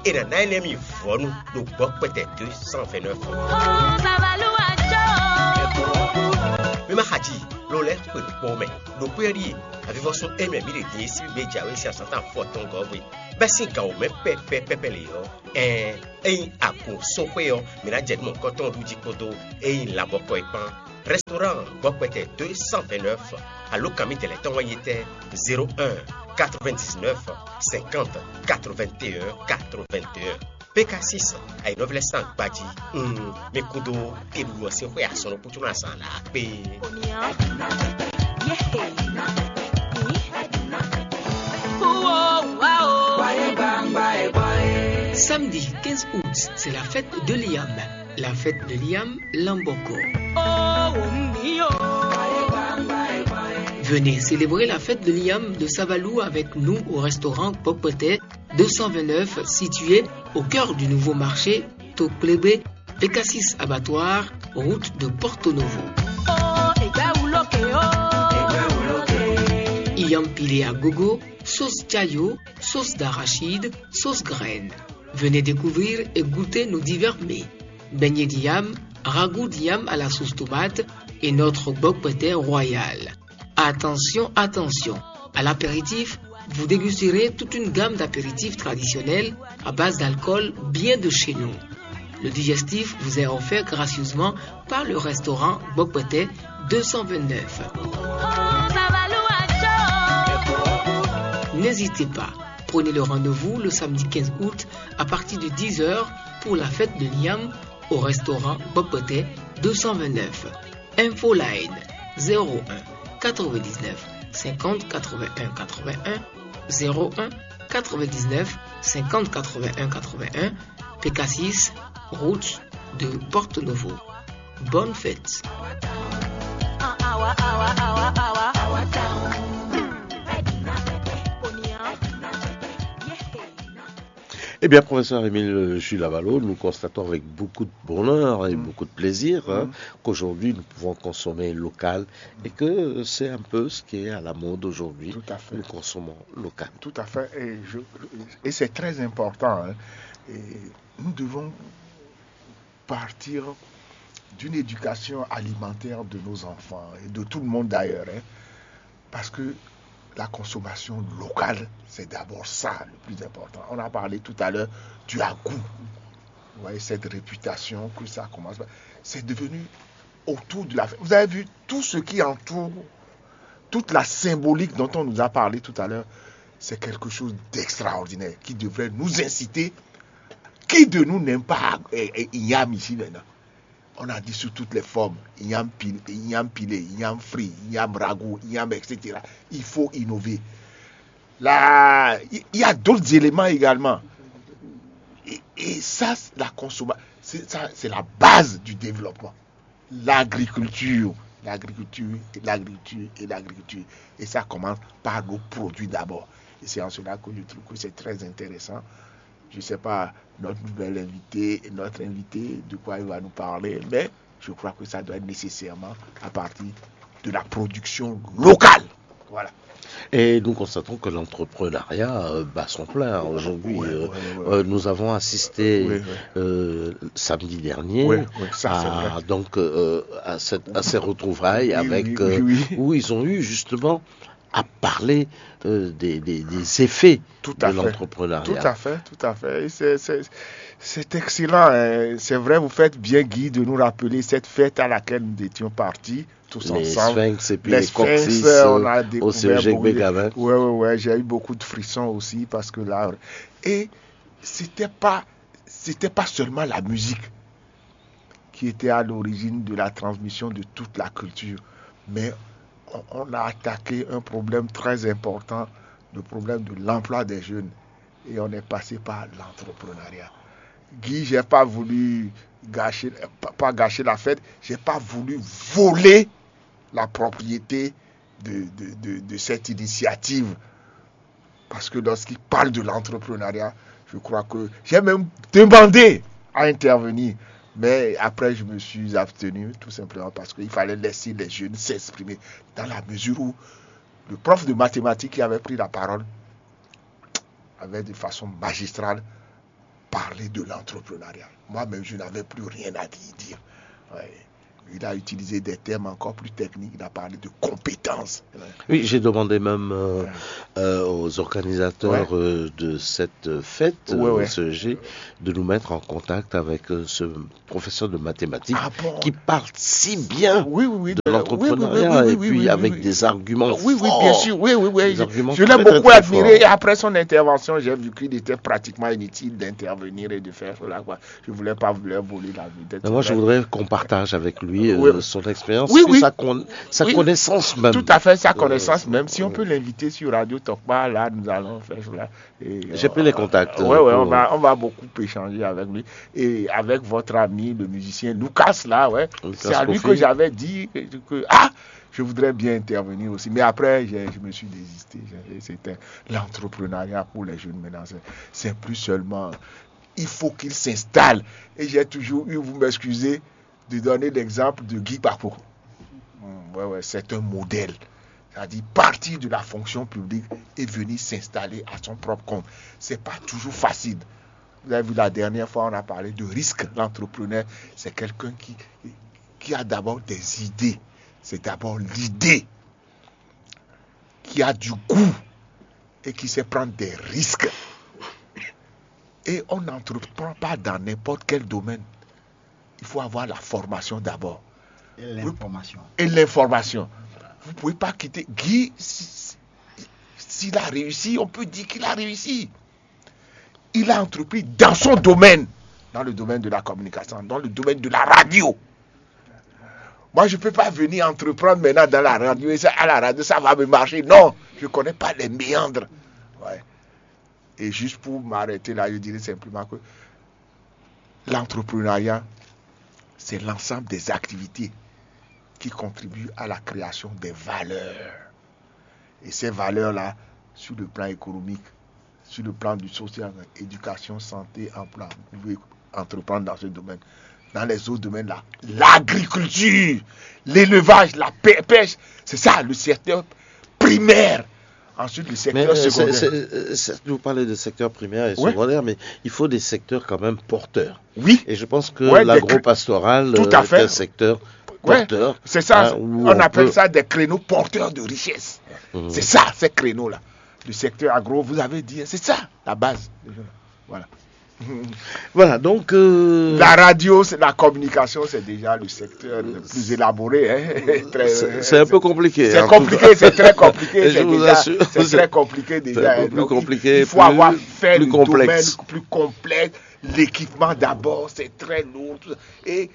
è nǎ ná énɛ́ mi vɔ̌nu ɖo gbɔ̌kpɛtɛ deux cent vingt-neuf. Mi ma xa ji, lo lɛ́ xwe ɖo kpɔ́ mɛ. Ɖo xwé ɔ́ ɖíe avivɔsún émɛ mǐ ɖe din e sín gbé jǎwe sín azǎn tɔn afɔtɔngɔ́ hwe, bɛ́ sín gǎn wǒ mɛ pɛ́pɛ́ pɛ́pɛ́ lě ɔ́, ɛɛn, ényí agun sɔ́ xwé ɔ́, mǐ ná jɛ nú mɔ̌hunkɔtɔn ɖu jí kpódó ényí labɔkɔ é kpán. Restaurant gbɔkpɛtɛ deux cent vingt-neuf, alo kan mi tɛlɛ tɔn wɛ nyí tɛ́: zéro un, quatre-vingt-dix-neuf, cinquante, quatre-vingt-un, quatre-vingt-un. P K six, ayǐnɔ́ví lɛ́ɛ sín agbají. Mm, mi kúdó keɖuɖu ɔ́ sín xwé asɔ́nɔ kútúnú azǎn lǎ kpé. Samedi quinze août, c'est la fête de l'Iam. La fête de l'Iam Lamboko. Venez célébrer la fête de l'Iam de Savalou avec nous au restaurant Pokpete deux cent vingt-neuf, situé au cœur du nouveau marché Toklebe, P K six Abattoir, route de Porto Novo. Iam pilé à gogo, sauce chayo, sauce d'arachide, sauce graine. Venez découvrir et goûter nos divers mets. Beignet d'iam, ragoût d'iam à la sauce tomate et notre bokpete royal. Attention, attention, à l'apéritif, vous dégusterez toute une gamme d'apéritifs traditionnels à base d'alcool bien de chez nous. Le digestif vous est offert gracieusement par le restaurant Bokpete deux cent vingt-neuf. N'hésitez pas, prenez le rendez-vous le samedi quinze août à partir de dix heures pour la fête de l'Iam au restaurant Bokpete deux cent vingt-neuf. Infoline: zéro un, quatre-vingt-dix-neuf, cinquante, quatre-vingt-un, quatre-vingt-un, zéro un, quatre-vingt-dix-neuf, cinquante, quatre-vingt-un, quatre-vingt-un, P K six, route de Porto Novo. Bonne fête. Eh bien, professeur Émile Jules Avalo, nous constatons avec beaucoup de bonheur et beaucoup de plaisir, hein, qu'aujourd'hui nous pouvons consommer local et que c'est un peu ce qui est à la mode aujourd'hui. Tout à fait. Nous consommons local. Tout à fait. Et, je- et c'est très important, hein. Et nous devons partir d'une éducation alimentaire de nos enfants et de tout le monde d'ailleurs, hein. Parce que la consommation locale, c'est d'abord ça le plus important. On a parlé tout à l'heure du agou. Vous voyez, cette réputation que ça commence. C'est devenu autour de la... Vous avez vu tout ce qui entoure, toute la symbolique dont on nous a parlé tout à l'heure, c'est quelque chose d'extraordinaire qui devrait nous inciter. Qui de nous n'aime pas, eh, eh, Inyam ici maintenant? On a dit sous toutes les formes, Inyam pil- Inyam pilé, Inyam frit, Inyam ragoût, Inyam, et cetera. Il faut innover. Là, il y a d'autres éléments également. Et, et ça, c'est la consommation, c'est ça, c'est la base du développement. L'agriculture, l'agriculture, et l'agriculture, et l'agriculture. Et ça commence par nos produits d'abord. Et c'est en cela que je trouve que c'est très intéressant. Je ne sais pas, notre nouvel invité, notre invité, de quoi il va nous parler, mais je crois que ça doit être nécessairement à partir de la production locale. Voilà. Et nous constatons que l'entrepreneuriat euh, bat son plein aujourd'hui. Ouais, euh, ouais, ouais, ouais. Euh, nous avons assisté Ouais, ouais. euh, samedi dernier Ouais, ouais, ça, c'est à, vrai. donc, euh, à, cette- à ces retrouvailles Oui, avec, oui, euh, oui, oui. où ils ont eu justement à parler euh, des, des- des effets Tout de à fait. l'entrepreneuriat. Tout à fait, tout à fait. Et c'est- c'est- C'est excellent, hein. C'est vrai, vous faites bien, Guy, de nous rappeler cette fête à laquelle nous étions partis tous Les ensemble. Sphinx et puis Les les Sphinx, Coccyx, euh, on euh, a au découvert C E G beaucoup de- Bégamin. Ouais, ouais, ouais, j'ai eu beaucoup de frissons aussi parce que là, et c'était pas, c'était pas seulement la musique qui était à l'origine de la transmission de toute la culture, mais on, on a attaqué un problème très important, le problème de l'emploi des jeunes. Et on est passé par l'entrepreneuriat. Guy, j'ai pas voulu gâcher, pas, pas gâcher la fête, j'ai pas voulu voler la propriété de, de, de, de cette initiative. Parce que lorsqu'il parle de l'entrepreneuriat, je crois que j'ai même demandé à intervenir. Mais après, je me suis abstenu, tout simplement parce qu'il fallait laisser les jeunes s'exprimer. Dans la mesure où le prof de mathématiques qui avait pris la parole avait de façon magistrale parlé de l'entrepreneuriat. Moi-même, je n'avais plus rien à y dire. Ouais. Il a utilisé des termes encore plus techniques, il a parlé de compétences. Oui, j'ai demandé même euh, euh, aux organisateurs euh, de cette fête, Ouais, euh, ouais. O C E G, de nous mettre en contact avec euh, ce professeur de mathématiques Ah bon ? Qui parle si bien Oui, oui, oui. de euh, l'entrepreneuriat oui, oui, oui, oui, et oui, puis oui, avec oui. des arguments Oui, oui, forts. Bien sûr, oui, oui, oui. Des arguments Je l'ai très, très, beaucoup très admiré forts. Et après son intervention, j'ai vu qu'il était pratiquement inutile d'intervenir et de faire cela, quoi. Je voulais pas leur voler la vedette. Mais moi, je Ouais. voudrais qu'on partage avec lui euh, Oui. Son expérience, Oui, puis oui. Sa, con- sa Oui. Connaissance même. Tout à fait, sa Euh, connaissance même. Si on oui. Peut l'inviter sur Radio Talk Bar, là, nous allons faire cela. Et, J'ai euh, pris les contacts, Ouais, ouais, on pour- va, on va beaucoup échanger avec lui. Et avec votre ami, le musicien Lucas, là, ouais. Lucas C'est à lui Kofi. Que j'avais dit que, que- ah, je voudrais bien intervenir aussi. Mais après, j'ai- je me suis désisté. J'ai- C'était l'entrepreneuriat pour les jeunes maintenant. C'est- C'est plus seulement. Il faut qu'ils s'installent. Et j'ai toujours eu, vous m'excusez, de donner l'exemple de Guy Papo. Hmm, ouais, ouais, c'est un modèle. C'est-à-dire partir de la fonction publique et venir s'installer à son propre compte. C'est pas toujours facile. Vous avez vu, la dernière fois, on a parlé de risque. L'entrepreneur, c'est quelqu'un qui, qui a d'abord des idées. C'est d'abord l'idée qui a du goût et qui sait prendre des risques. Et on n'entreprend pas dans n'importe quel domaine. Il faut avoir la formation d'abord. Et l'information. Et l'information. Vous ne pouvez pas quitter. Guy, si- si- s'il a réussi, on peut dire qu'il a réussi. Il a entrepris dans son domaine, dans le domaine de la communication, dans le domaine de la radio. Moi, je ne peux pas venir entreprendre maintenant dans la radio et ça, à la radio, ça va me marcher. Non, je ne connais pas les méandres. Ouais. Et juste pour m'arrêter là, je dirais simplement que l'entrepreneuriat, c'est l'ensemble des activités qui contribuent à la création des valeurs. Et ces valeurs-là, sur le plan économique, sur le plan du social, éducation, santé, emploi, vous pouvez entreprendre dans ce domaine. Dans les autres domaines-là, l'agriculture, l'élevage, la pê- pêche, c'est ça le secteur primaire. Ensuite, le Mais secteur euh, c'est- secondaire. c'est- c'est- vous parlez de secteur primaire et Ouais. Secondaire, mais il faut des secteurs quand même porteurs. Oui, Et je pense que Ouais, des l'agro-pastoral Tout euh, à est fait. Un secteur Ouais, porteur. C'est ça, Hein, où on appelle peut- Ça des créneaux porteurs de richesse. Mhm. C'est ça, ces créneaux-là. Le secteur agro, vous avez dit, c'est ça, la base. Voilà. Voilà, donc. euh, La radio, c'est la communication, c'est déjà le secteur le plus élaboré. Hein. Très- C'est c'est un peu compliqué. C'est En tout compliqué, cas. C'est très compliqué. Et je C'est vous déjà- assure, c'est c'est- très compliqué déjà. c'est un peu Hein. Plus Donc, compliqué. Il faut plus- Avoir fait plus le Complexe. Domaine plus complexe. L'équipement d'abord, c'est très lourd. Et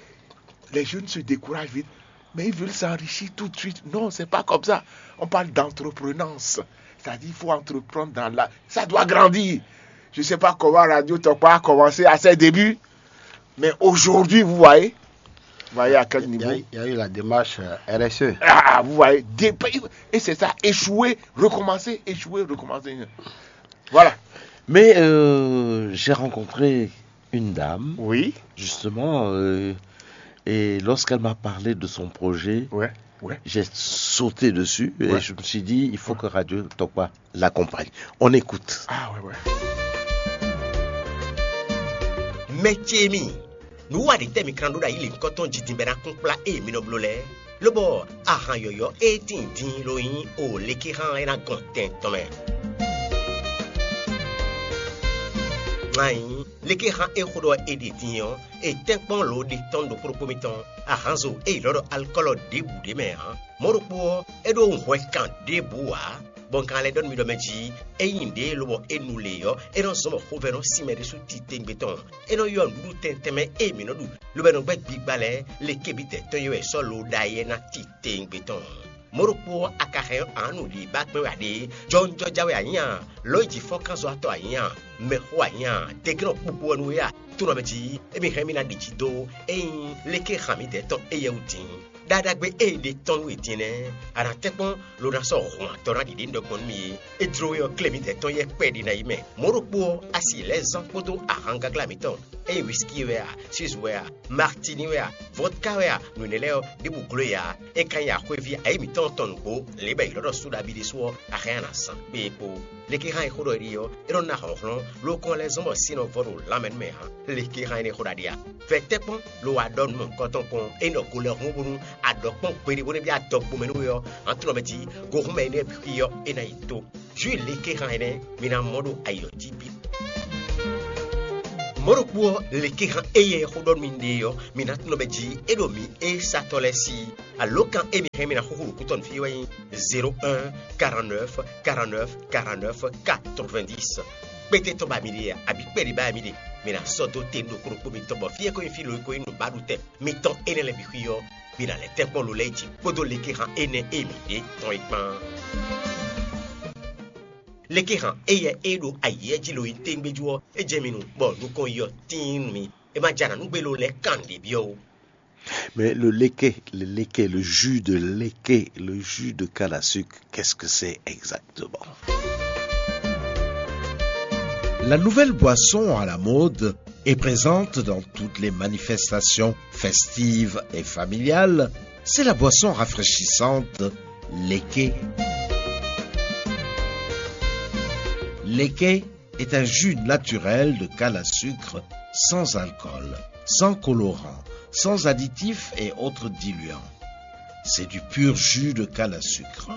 les jeunes se découragent vite. Mais ils veulent s'enrichir tout de suite. Non, c'est pas comme ça. On parle d'entreprenance. C'est-à-dire, il faut entreprendre dans la. Ça doit grandir. Je ne sais pas comment Radio Talk Bar a commencé à ses débuts. Mais aujourd'hui, vous voyez, vous voyez à quel Il y, a, niveau. Il y a eu la démarche euh, R S E. Ah, vous voyez, des pays. Et c'est ça, échouer, recommencer, échouer, recommencer. Voilà. Mais euh, j'ai rencontré une dame, Oui. Justement, euh, et lorsqu'elle m'a parlé de son projet, Ouais. Ouais. J'ai sauté dessus et Ouais. Je me suis dit, il faut que Radio Talk Bar l'accompagne. On écoute. Ah ouais, ouais. Mɛ ce mi, nǔ wa ɖě tɛ́ mi kan ɖó ɖo ayi lěhunkɔtɔn jí din bɔ é ná kún kplá ée mi nɔ bló lɛ́ɛ? Lobɔ ahan yɔ̌yɔ́ e tíin din ló nyí o léké hán é ná gɔn tɛn tɔn mɛ. Ayi, léké hán é xó ɖɔ é ɖe din ɔ́, è tɛ́nkpɔ́n lǒ ɖe tɔn ɖokpó ɖokpó mitɔn. Ahanzo e è ylɔ́ ɖɔ alikɔ́lɔ ɖěbǔ ɖé mɛ ǎ. Mɔ̌ ɖokpó ɔ́, é ɖó hwɛ kan ɖěbǔ ǎ. Bɔ un ka lɛ́ ɖɔ nú mi ɖɔ mɛ jí, ényí ɖě lobɔ é nu lě ɔ́, é nɔ zɔ́n bɔ xovɛ́ nɔ sin mɛ ɖésú titewungbe tɔn. É nɔ ylɔ́ nǔɖuɖu tɛntɛn mɛ e mǐ nɔ ɖu, lobo é nɔ gbɛ́ gbigba lɛ́ɛ, lekebítɛ́ tɔn e wɛ è sɔ́ lǒ ɖ'ayǐ é ná titewungbe tɔn. Mɔ̌ ɖokpó ɔ́, a ka hɛn ɔ́, ǎ nǔɖiɖi ba kpɛ́n wɛ a ɖe? Jɔwunjɔja wɛ a nyí a? Lɔ̌nyijǐfɔ́kánzɔ́watɔ́ a nyǐ a? Mɛxó a nyǐ a? Tɛ́nkɛ́nnɔ kpukpu wɛ nú we a? Tónɔ mɛ jí, émí hɛn mì ná ɖi jí dó ényí léké han mǐdɛɛ tɔn éyɛ́ wú din. Ɖaɖagbe e è ɖe tɔn nú we din nɛ́, a nǎ tɛ́nkpɔ́n lo ná sɔ́ hɔn atɔn ná ɖiɖe nú ɖɔ gbɔn nú mì é. É jló we ɔ́, klé mǐdɛɛ tɔn yɛ kpɛɖé ná yi mɛ. Mɔ̌ ɖokpó ɔ́, a si lɛ́ zán kpódó ahangáglá mǐtɔn, ényí whisky wɛ a, suze wɛ a, martini wɛ a, vodka wɛ a, nǔ énɛ́ lɛ́ɛ ɔ́, ɖěbǔ gló e ǎ. É ka nyí axwéví ayǐ mǐtɔn tɔn nǔgbó, lě bɔ è ylɔ́ ɖɔ Suɖabi ɖésú ɔ́, a hɛn a nǎ zán kpé é kpó. Lekéhan e xó ɖɔ é ɖe ɔ́, é nɔ ná hlɔ̌nhlɔ́n, lókɔn lɛ́ zɔ́n bɔ sin nɔ vɔ ɖo lanmɛ nú mɛ ǎ. Lekéhan énɛ́ xó ɖaɖe a? Vɛ tɛ́nkpɔ́n lo wá ɖɔ nǔ mɔ̌hunkɔtɔn kpɔ́n, é nɔ go lɛ́ hun bónú a ɖɔ kpɔ́n gbeɖé bó nɔ́ byɔ́ adɔgbomɛ nú we ɔ́, ǎ tunɔ mɛ jí, gohúnmɛ énɛ́ bǐ xwí ɔ́, é ná yi tó. Jǔ lekéhan énɛ́ mi ná mɔ ɖo ayi ɔ́ jí bǐ. Mɔ̌ ɖokpó ɔ́, lekéhan éyɛ́ xó ɖɔ nú mi ɖe ɔ́, mi ná tunɔ mɛ jí, é ɖo mǐ e satɔ́ lɛ́ɛ sí. Alǒkan e mi hɛn mi ná xúxú ɖo kútɔ́ nú fí wɛ nyí zéro un, quarante-neuf, quarante-neuf, quarante-neuf, quatre-vingt-dix. Kpéte tɔn ba mi ɖe a, abǐ kpɛɖi ba mi ɖe, mi ná sɔ́ dó te nú ɖokpó ɖokpó mitɔn bɔ fí e ko nyí fí lo e ko nyí nǔbaɖutɛn mitɔn énɛ́ lɛ́ɛ bǐ xwí ɔ́, mi ná lɛ́ tɛ́nkpɔ́n lo lɛ́ɛ jí kpódó lekéhan énɛ́ e mi ɖe tɔn é kpán. Lekéhan éyɛ́ e ɖo ayǐ jí lo nyí téngbéjú ɔ́, é jɛ mi nu, bɔ nukɔn yi ɔ́ tíin nú mi. É ma jɛ anǎ nú gbé lo lɛ́ɛ kan nǔɖé byɔ́ ó. Mais le leke, le leke, le jus de leke, le jus de canne à sucre, qu'est-ce que c'est exactement ? La nouvelle boisson à la mode et présente dans toutes les manifestations festives et familiales, c'est la boisson rafraîchissante leke. Leke est un jus naturel de canne à sucre sans alcool, sans colorant, sans additifs et autres diluants. C'est du pur jus de canne à sucre.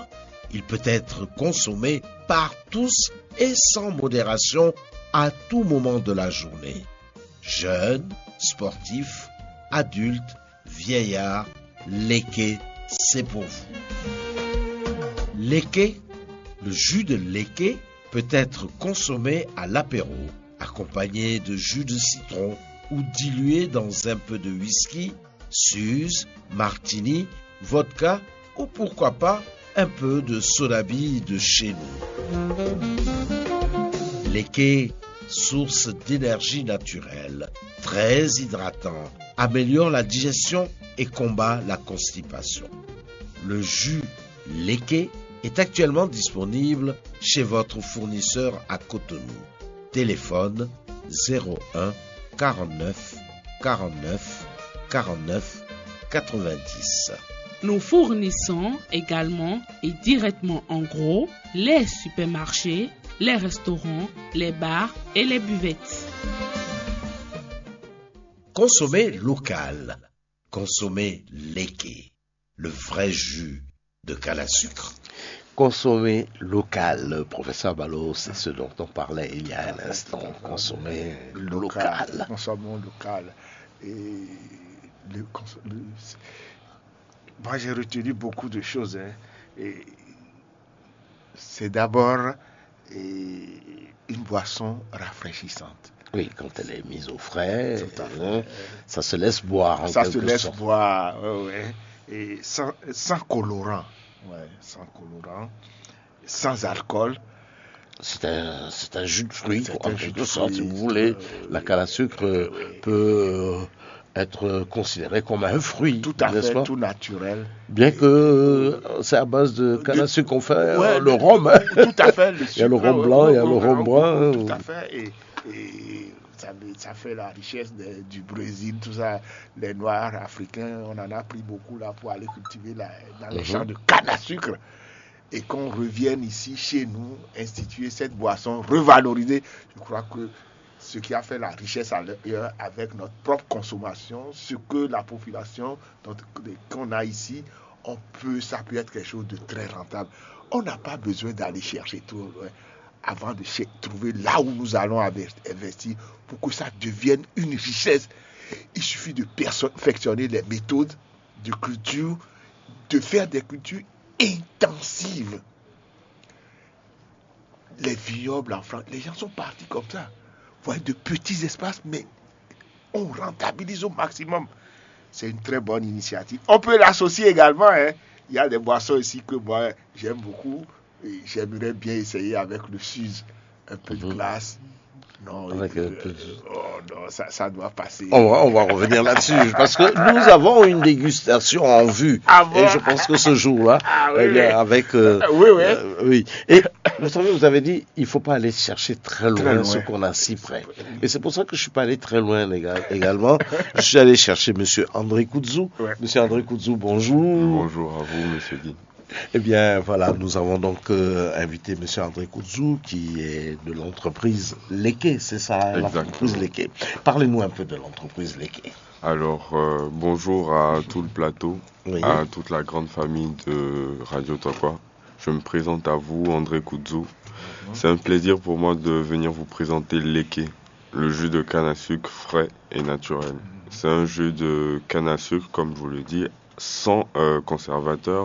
Il peut être consommé par tous et sans modération à tout moment de la journée. Jeunes, sportifs, adultes, vieillards, leke, c'est pour vous. Leke, le jus de leke peut être consommé à l'apéro, accompagné de jus de citron ou dilué dans un peu de whisky, suze, martini, vodka ou pourquoi pas un peu de soda bille de chez nous. Leke, source d'énergie naturelle, très hydratant, améliore la digestion et combat la constipation. Le jus Leke est actuellement disponible chez votre fournisseur à Cotonou. Téléphone zéro un, quarante-neuf, quarante-neuf, quarante-neuf, quatre-vingt-dix. Nous fournissons également et directement en gros les supermarchés, les restaurants, les bars et les buvettes. Consommer local. Consommer Leke, le vrai jus de canne à sucre. Consommer local, professeur Ballot, c'est ce dont on parlait il y a un instant. Consommer local. Consommons local. Et le, cons- le- c'est- moi, j'ai retenu beaucoup de choses, hein. Et c'est d'abord, et, une boisson rafraîchissante. Oui, quand elle est mise au frais, tout à fait, hein, ça se laisse boire en quelque sorte. Ça se laisse boire, ouais, ouais. Et sans, sans colorant. Ouais, sans colorant, sans alcool. C'est un, c'est un jus de fruit, en quelque sorte, si vous voulez. La canne à sucre peut euh, être considéré comme un fruit, tout à fait, tout naturel. Bien que euh, c'est à base de canne à sucre qu'on fait euh, le rhum, hein. Tout à fait. Il y a le rhum blanc, il y a le rhum brun. Tout à fait. Et, et ça, ça fait la richesse de- du Brésil, tout ça. Les Noirs africains, on en a pris beaucoup là pour aller cultiver la- dans les champs de canne à sucre. Et qu'on revienne ici, chez nous, instituer cette boisson, revaloriser. Je crois que ce qui a fait la richesse ailleurs avec notre propre consommation, ce que la population dont- qu'on a ici, on peut, ça peut être quelque chose de très rentable. On n'a pas besoin d'aller chercher trop loin avant de cher- trouver là où nous allons inves- investir pour que ça devienne une richesse. Il suffit de perfectionner les méthodes de culture, de faire des cultures intensives. Les vignobles en France, les gens sont partis comme ça, pour de petits espaces, mais on rentabilise au maximum. C'est une très bonne initiative. On peut l'associer également, hein. Il y a des boissons ici que moi, j'aime beaucoup. Et j'aimerais bien essayer avec le Suze. Un peu de glace. Non, Avec et un puis, peu de- euh, oh non, ça, ça doit passer. On va, on va revenir là-dessus parce que nous avons une dégustation en vue. Ah bon? Et je pense que ce jour-là, Ah oui, eh bien, oui. avec. Euh, Ah oui, oui. euh, oui. Et vous savez, vous avez dit, il faut pas aller chercher très loin, Très loin. Ce qu'on a si près. Et c'est pour ça que je suis pas allé très loin éga- également. Je suis allé chercher Monsieur André Koudzou. Ouais. Monsieur André Koudzou, bonjour. Bonjour à vous, monsieur Guy. Eh bien, voilà, nous avons donc euh, invité Monsieur André Koudzou, qui est de l'entreprise Leke, c'est ça, hein, l'entreprise Exactement. Leke. Parlez-nous un peu de l'entreprise Leke. Alors, euh, bonjour à tout le plateau, Oui. À toute la grande famille de Radio Tokwa. Je me présente à vous, André Koudzou. C'est un plaisir pour moi de venir vous présenter Leke, le jus de canne à sucre frais et naturel. C'est un jus de canne à sucre, comme je vous le dis, sans euh, conservateur,